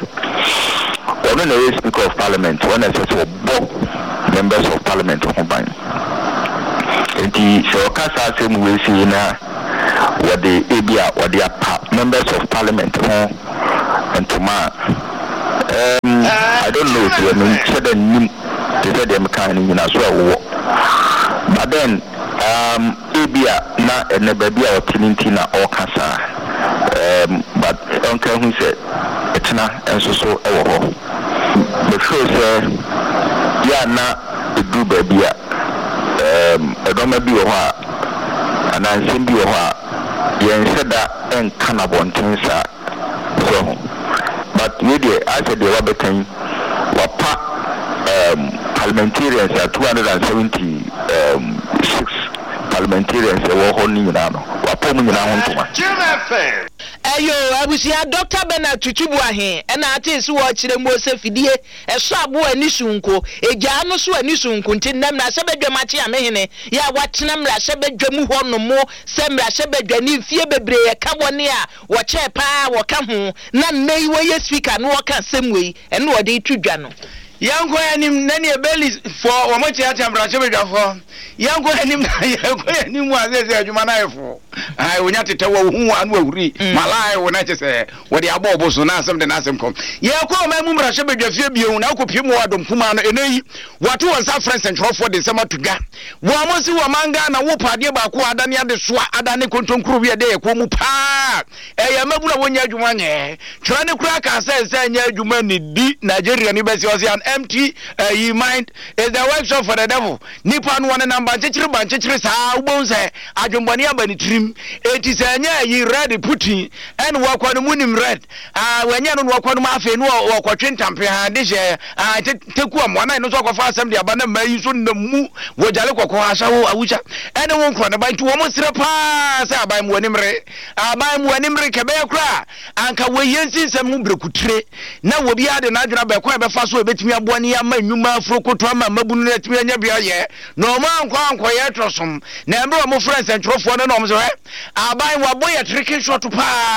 ɔno na ɛyɛ Speaker of Parliament, ɔno na ɛsɛ sɛ ɔbɔ Members of Parliament ho ban. Enti sɛ ɔka saa asɛm wei sei na wɔde ebia wɔde apa members of parliament ho ntoma a, um, I don't know deɛ menhyɛ da nnim te sɛ deɛ mekae no nnyinaso a ɛwowɔ. But then um, ebia na ɛnɛ baabi a ɔte no nti na ɔreka saa. Um, but ɔnka hu sɛ ɛkyena nso so wɔ hɔ. Me feel sɛ yɛ a na ɛduru baabi a um, nnoɔma bi wɔ hɔ a anaa nsɛm bi wɔ hɔ a yɛnhyɛ da nka no abɔnten saa. So ho? But wei deɛ ayɛ sɛ deɛ wabɛka yi, wapa um, parliamentarians a 276 parliamentarians ɛwɔ hɔ no nyinaa no, wapa wɔn nyinaa ho ntoma. Ɛyoo abusua Doctor Bernard Tutu Boahen na atee se wɔrekyerɛ muo sɛ fidie ɛsɔ aboa ani sononko, egyaa no so ani sononko nti nnɛ mmarahyɛbadwam akyeamehene yɛ a watena mmarahyɛbadwa mu hɔ nom sɛ mmarahyɛbadwani mfie bebree ɛka wɔne a wɔkyɛɛ paa a wɔka ho na nnɛ yi wɔyɛ speaker na wɔka asɛm wei ɛno na wɔde reto dwa no. Yɛnkɔ anim na neɛ Baileys foɔ wɔn kyeakyea mmarahyɛbadwafoɔ yɛnkɔ anim na yɛkɔ yɛn anim a seesei adwuma no ayɛ fo. Ae, onya tetɛw a ohu a na wahuri malai wo na kyɛ sɛ wɔde abɔ ɔbo so na asɛm de n'asɛm kɔ. Yɛkɔ ɔman mu mmarahyɛ badwafie bio na wokɔpie mu wɔ adɔm kumaa no. Ɛnɛ yi, wɔato wɔn nsa afrɛ nsɛntwerɛfoɔ de nsɛm ato dwa. Wɔn se wɔ ɔman Ghana wopɛ adeɛ baako a adane adesoa, adane kontonkuro wi a ɛda yɛn kɔn mu paa. Ɛyɛ mmabunu a wɔnnya adwuma nyɛ. Twerɛ no koraa kaa sɛ nsa nyɛ adwuma nnidi. Nigeriani bɛse ɔse an empty uh, mind is the workshop for the devil. Nipa no ɔnenam bankyekyere bankyekyere saa wobɛhu sɛ adwenbɔne aba ne tirim. Enti sɛ ɛnyɛ ayi red putin ɛne wakɔ no monim red ah wanyɛ no na wakɔ no mu afei no ɔkɔtwe ntampe ha de hyɛ ah teku amoa na ɛno nso akɔfa asɛm de aba na mmaa yi nso nam mu wɔ gyale kɔkɔɔ asawo awusa ɛne wo nkorɔ ne ba nti wɔn srɛ paa sɛ aban mu anim re aban mu anim re kɛbɛyɛ koraa anka wɔyɛ nsi nsɛm ho brɛkutire na obiara de n'adwene aba ɛkwan a ɛbɛfa so a ɛbɛtumi aboa ne ama nnwuma afurokoto ama mmabunu no atumi anya bi ayɛ, na wɔn ankɔ ankɔyɛ tɔsom. Na mmerɛ wɔn frɛ nsɛntwerɛfoɔ no na wɔn sɛ, hwɛ, aban wabɔ yɛ trikin shot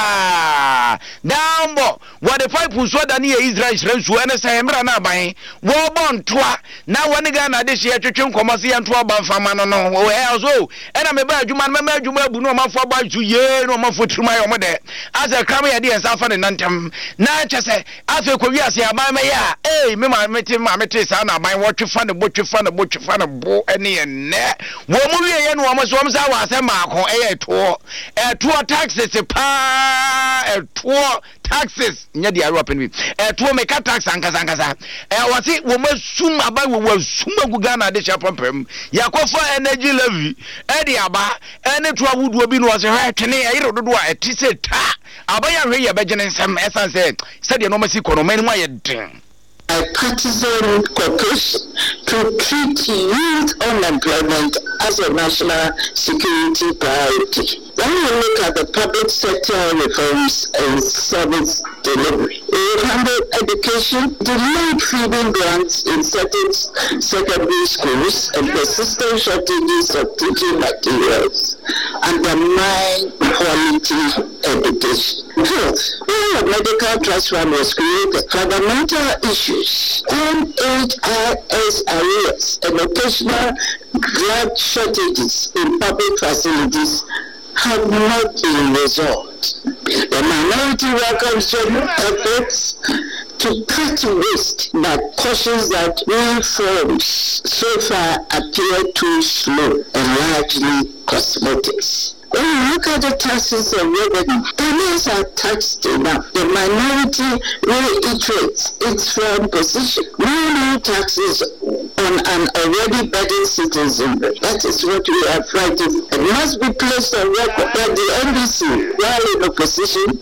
paa, daambɔ, wɔde pipe nsuo adane yɛ Israel nhyira nsuo, ɛne sɛ mmerɛ na aban wɔbɔ ntoa na wɔne Ghana adehyeɛ twetwe nkɔmmɔ sɛ yɛnto aba mfa ma no no, ɛɛ ɔso o, ɛna meba adwuma no mɛma adwuma abu na ɔmanfoɔ abɔ asu yee na ɔmanfoɔ tirim ayɛ ɔmo dɛ asɛ kram yɛde yɛn nsa afa ne nantam na kyɛ sɛ afei kɔ wiase aban mɛyɛ a ei me maame te maame te saa na aban wɔtwe fa ne bo twe fa ne bo twe fa ne bo ɛne ɛnɛ wɔn mu wie yɛ no wɔn so wɔn sa wɔ asɛm baako ɛyɛ ɛtoɔ ɛtoɔ taxes paa ɛtoɔ Taxes nyɛ deɛ ayewa pɛ no bi. Ɛtoɔ meka tax ankasa ankasa. Ɛ wɔse wɔn asum aba wɔ wɔn asum agu Ghana adehyɛ apampam. Yɛakɔfa energy levy ɛde aba ɛne to ahodoɔ bi na wɔse hwɛ twene ɛyere dodoɔ a ɛte sɛ ta. Aban ahwɛ yi ɛbɛgye ne nsam ɛsan sɛ sɛdeɛ nneɛma si kɔ no ɔman no mu ayɛ den. Bipartisan cooperation to treat youth unemployment as a national security priority. When we look at the public sector reforms and service delivery, we will handle education, delayed feeding grants in certain secondary schools, and persistent shortages of teaching materials undermine quality education. Health, where a medical trust fund was created, fundamental issues, NHIS arrears, and occasional drug shortages in public facilities have not been resolved. The minority welcomes general efforts to cut waste, but cautions that reforms so far appear too slow and largely cosmetics. When you look at the taxes and revenue, Ghanaians are taxed enough. The minority reiterates its firm position. No new taxes on an already burdened citizenry. That is what we are fighting. It must be placed on record that the NDC, while in opposition,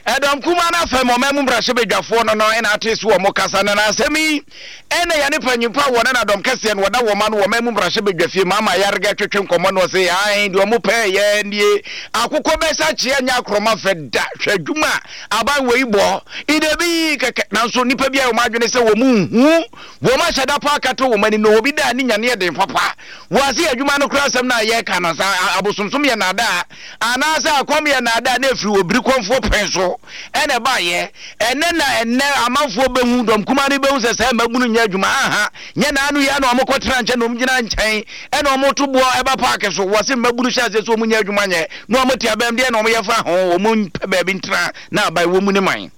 Ɛdɔm kumaa no afɛm ɔman mu mmarahyɛbadwafoɔ no no na ate so wɔn kasa no na asɛm yi ɛna yɛne panyimfo a wɔne na dɔm kɛseɛ no wɔda wɔn ano wɔ ɔman mu mmarahyɛbadwafie ma ama ayarega twetwe nkɔmmɔ no ɔse ae deɛ ɔmo pɛɛ yɛ nie akokɔ bɛsa kyeɛ nyɛ akorɔma fɛ da hwɛ adwuma a aban wei bɔ idebi kɛkɛ nanso nnipa bi a wɔn adwene sɛ wɔn nhu wɔn ahyɛ da pa akata wɔn ani no obi da ne nyaneɛ den papa wɔ ase adwuma no koraa asɛm no a yɛka no sa abosomsom yɛ naadaa Anaasɛ akɔm yɛ nnaadaa na ɛfiri obiri kɔmfoɔ pɛn so na ɛbaeɛ? Ɛnnɛ na ɛnnɛ amanfoɔ bɛhu, dɔm kumaa no bɛhu sɛ saa mmabunu nyɛ adwuma. Aha, nyɛ naano yi ara na wɔkɔtena nkyɛn na wɔgyina nkyɛn na wɔto boɔ ɛba paake so. Wɔse mmabunu hyɛ aseɛ sɛ wɔnyɛ adwuma nyɛ na wɔte abam, deɛn na wɔyɛ fa ho? Wɔmpɛ baabi ntena na aban wɔ mu ne man.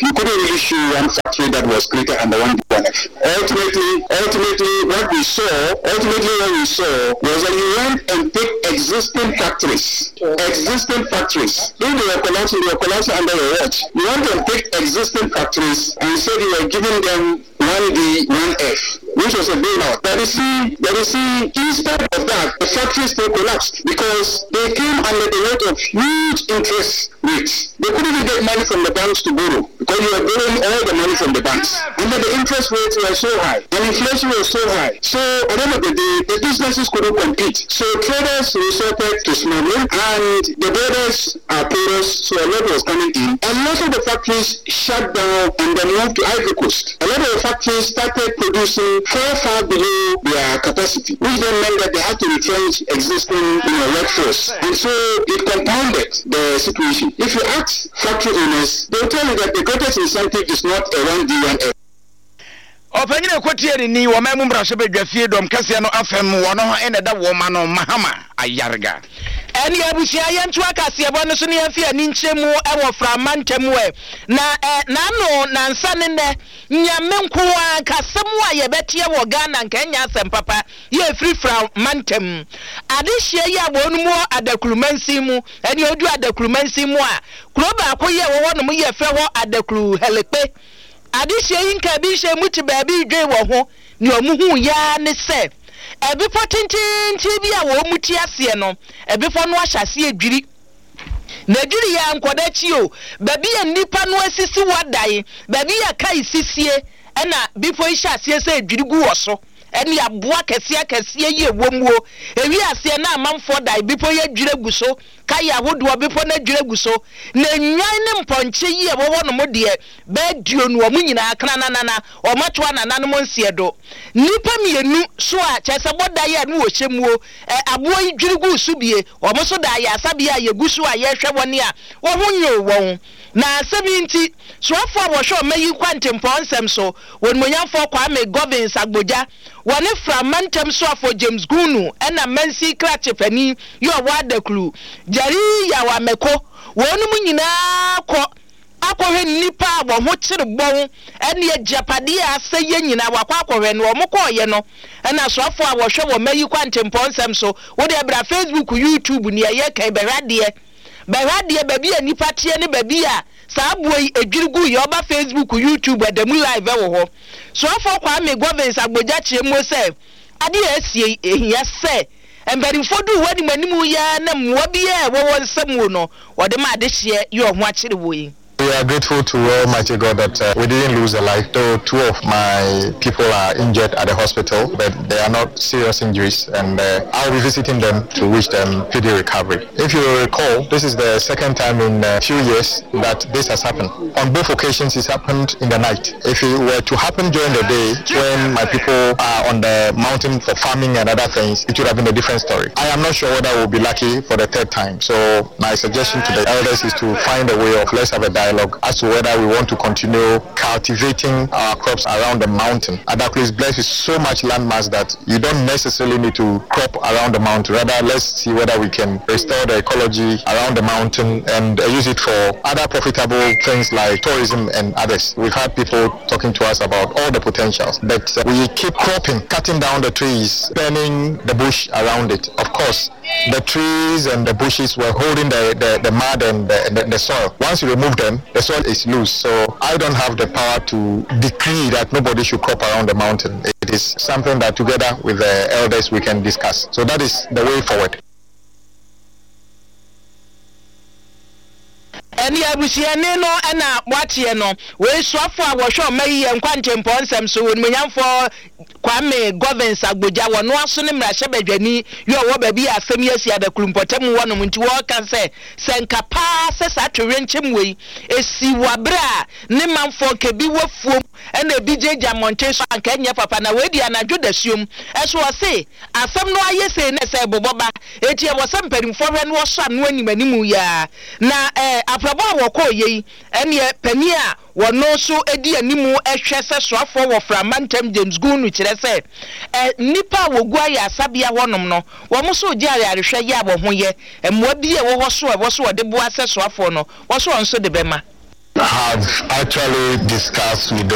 You couldn't really show one factory that was created under one D1F. Ultimately, ultimately, what we saw, ultimately what we saw was that you went and picked existing factories, existing factories. If they were collapsing, they were collapsing under your watch. You went and picked existing factories and said you were giving them 1D, 1F, which was a bailout. But you see, but you see, instead of that, the factories still collapsed because they came under the weight of huge interest rates. They couldn't even get money from the banks to borrow because you were borrowing all the money from the banks. And then the interest rates were so high and inflation was so high. So at the end of the day, the businesses couldn't compete. So traders resorted to smuggling and the borders are porous, so a lot was coming in. A lot of the factories shut down and then moved to Ivory Coast. A lot of the factories started producing far, far below their capacity, which then meant that they had to retrench existing you know, workforce. And so it compounded the situation. If you ask factory owners, they'll tell you that the greatest incentive is not a 1D, 1F. Ɔpanyin a ɛkɔtiee ne ni wɔ ɔman mu mmarahyɛbadwa fie dɔm kɛseɛ no afam wɔ no na ɛda wɔn ma no Mahama Ayariga. Ɛneɛ abusua yɛntoa kaseɛbɔ no so na yɛmfa yɛn ani nkyerɛ mu wɔ Frama ntam ɛ. Na ɛ n'ano nansa ne nnɛ Nyame nko ara nka asɛm a yɛbɛteɛ wɔ Ghana nka ɛnyɛ asɛm papa yɛ ɛfiri Frama ntam. Adehyeɛ yi a wɔnom wɔ Adaklu mansin mu ɛneɛ wodu Adaklu mansin mu a kuro baako yɛ ɛwɔ hɔ nom yɛfrɛ hɔ Adaklu Hɛlɛkpe. Adehyeɛ yi nka bi nhyɛ mu te baabi redwen wɔ ho, nea wɔhuu yɛ ara ne sɛ ɛbepɔ tenteenten bi a wɔn te aseɛ no, ɛbepɔ no ahyɛ aseɛ redwiri. Na ɛdwiri yɛ a nkɔda akyi o, baabi a nnipa no asisi wɔ adan, baabi a kae sisie, ɛna bepɔ yi hyɛ aseɛ sɛ ɛredwiri gu wɔ so. Ɛne aboa akɛseɛ akɛseɛ yi ɛwɔ mu o. Ɛwi aseɛ na amanfoɔ dan, bepɔ yi adwiri agu so. Kae ahodoɔ, bepɔ no adwiri agu so, na nnwan ne mpɔnkye yi a ɛwɔ hɔnom deɛ, bɛyɛ duonu, wɔn nyinaa krananana, wɔatoa nananom nseɛ do. Nnipa mmienu so a, kyerɛ sɛ bɔ dan a ne wɔhyɛ muo, ɛ, aboɔ yi dwiri guu so bie, wɔn nso da ayaresabea a yɛgu so a yɛrehwɛ wɔn a wɔn ho nyoo wɔn. Na asɛm yi nti, soafoɔ a wɔhwɛ ɔma yi nkwantempɔn nsɛm so, Onimuonyamfoɔ Kwame Govins Agbodza, Wɔne Fra mantam soafoɔ James Gunu ɛna mansin krakye panin yi ɔwɔ Adaklu, Jerry Yaw Ameko, wɔnom nyinaa kɔ akɔhwɛ nnipa a wɔn ho kyere bɔn ɛne agyapadeɛ a asɛeɛ nyinaa wakɔ akɔhwɛ no wɔn kɔɔeɛ no ɛna soafoɔ a wɔhwɛ wɔn mayi kwantempɔn nsɛm so wodeɛ bra Facebook YouTube nea yɛka yi bɛhwɛ adeɛ bɛhwɛ adeɛ baabi a nnipa teɛ ne baabi a Saa aboa yi edwiri guu yɛ ɔba Facebook, YouTube ɛda mu live ɛwɔ hɔ. Soafoɔ Kwame Govins Agbodza kyerɛ muo sɛ adeɛ a asie yi ehia sɛ mpanimfoɔ duu hɔ anim anim yi ara na mmoa biara a ɛwɔ wɔn nsa muo no wɔde ma adehyeɛ yɛ ɔho akyere wɔ yi. We are grateful to Almighty God that uh, we didn't lose a life, though two of my people are injured at the hospital, but they are not serious injuries, and uh, I'll be visiting them to wish them speedy recovery. If you recall, this is the second time in a few years that this has happened. On both occasions, it's happened in the night. If it were to happen during the day, when my people are on the mountain for farming and other things, it would have been a different story. I am not sure whether we'll be lucky for the third time. So my suggestion to the elders is to find a way of let's have a dialogue as to whether we want to continue cultivating our crops around the mountain. Adaklu is blessed with so much landmass that you don't necessarily need to crop around the mountain. Rather, let's see whether we can restore the ecology around the mountain and use it for other profitable things like tourism and others. We've had people talking to us about all the potentials, but we keep cropping, cutting down the trees, burning the bush around it. Of course, the trees and the bushes were holding the, the, the mud and the, the, the soil. Once you remove them, the soil is loose. So I don't have the power to decree that nobody should crop around the mountain. It is something that together with the elders we can discuss. So that is the way forward. Ɛne abusuani no na moateɛ no. Wei soafoɔ a wɔhwɛ ɔma yi yɛ nkwankyɛmpɔn nsɛm so, Onimuonyamfoɔ Kwame Govins Agbodza, wɔno aso ne mmarahyɛbadwani yi ɔwɔ baabi a asɛm yi asi Adaklu mpɔtam hɔ nom nti wɔreka sɛ, sɛ nka paa sɛ saa towerɛnkyɛm wei ɛsi wɔ aberɛ a ne manfoɔ nka ebi wɔ afuom ɛna ebi gyinagyina mmɔnten so a anka ɛnyɛ papa na wei deɛ anadwo dasuom ɛso ɔse asɛm no ayɛ sei na ɛsɛ ɛbobɔ ba enti ɛwɔ sɛ mpanimfoɔ hwɛ na wɔsɔ ano anim anim yi ara na ɛɛ aprabɔ a wɔkɔɔ yei ɛneɛ panin a wɔno nso di anim hwɛ sɛ soafoɔ wɔ fra mantam James Gunu kyerɛ sɛ ɛ nnipa a wɔgu ayaresabea hɔnom no wɔn nso regye ayarehwɛ yɛ a wɔn ho yɛ mmoa bi a ɛwɔ hɔ so a ɛwɔ so wɔde boa sɛ soafoɔ no wɔso wɔn nso de bɛma. Have actually discussed with the.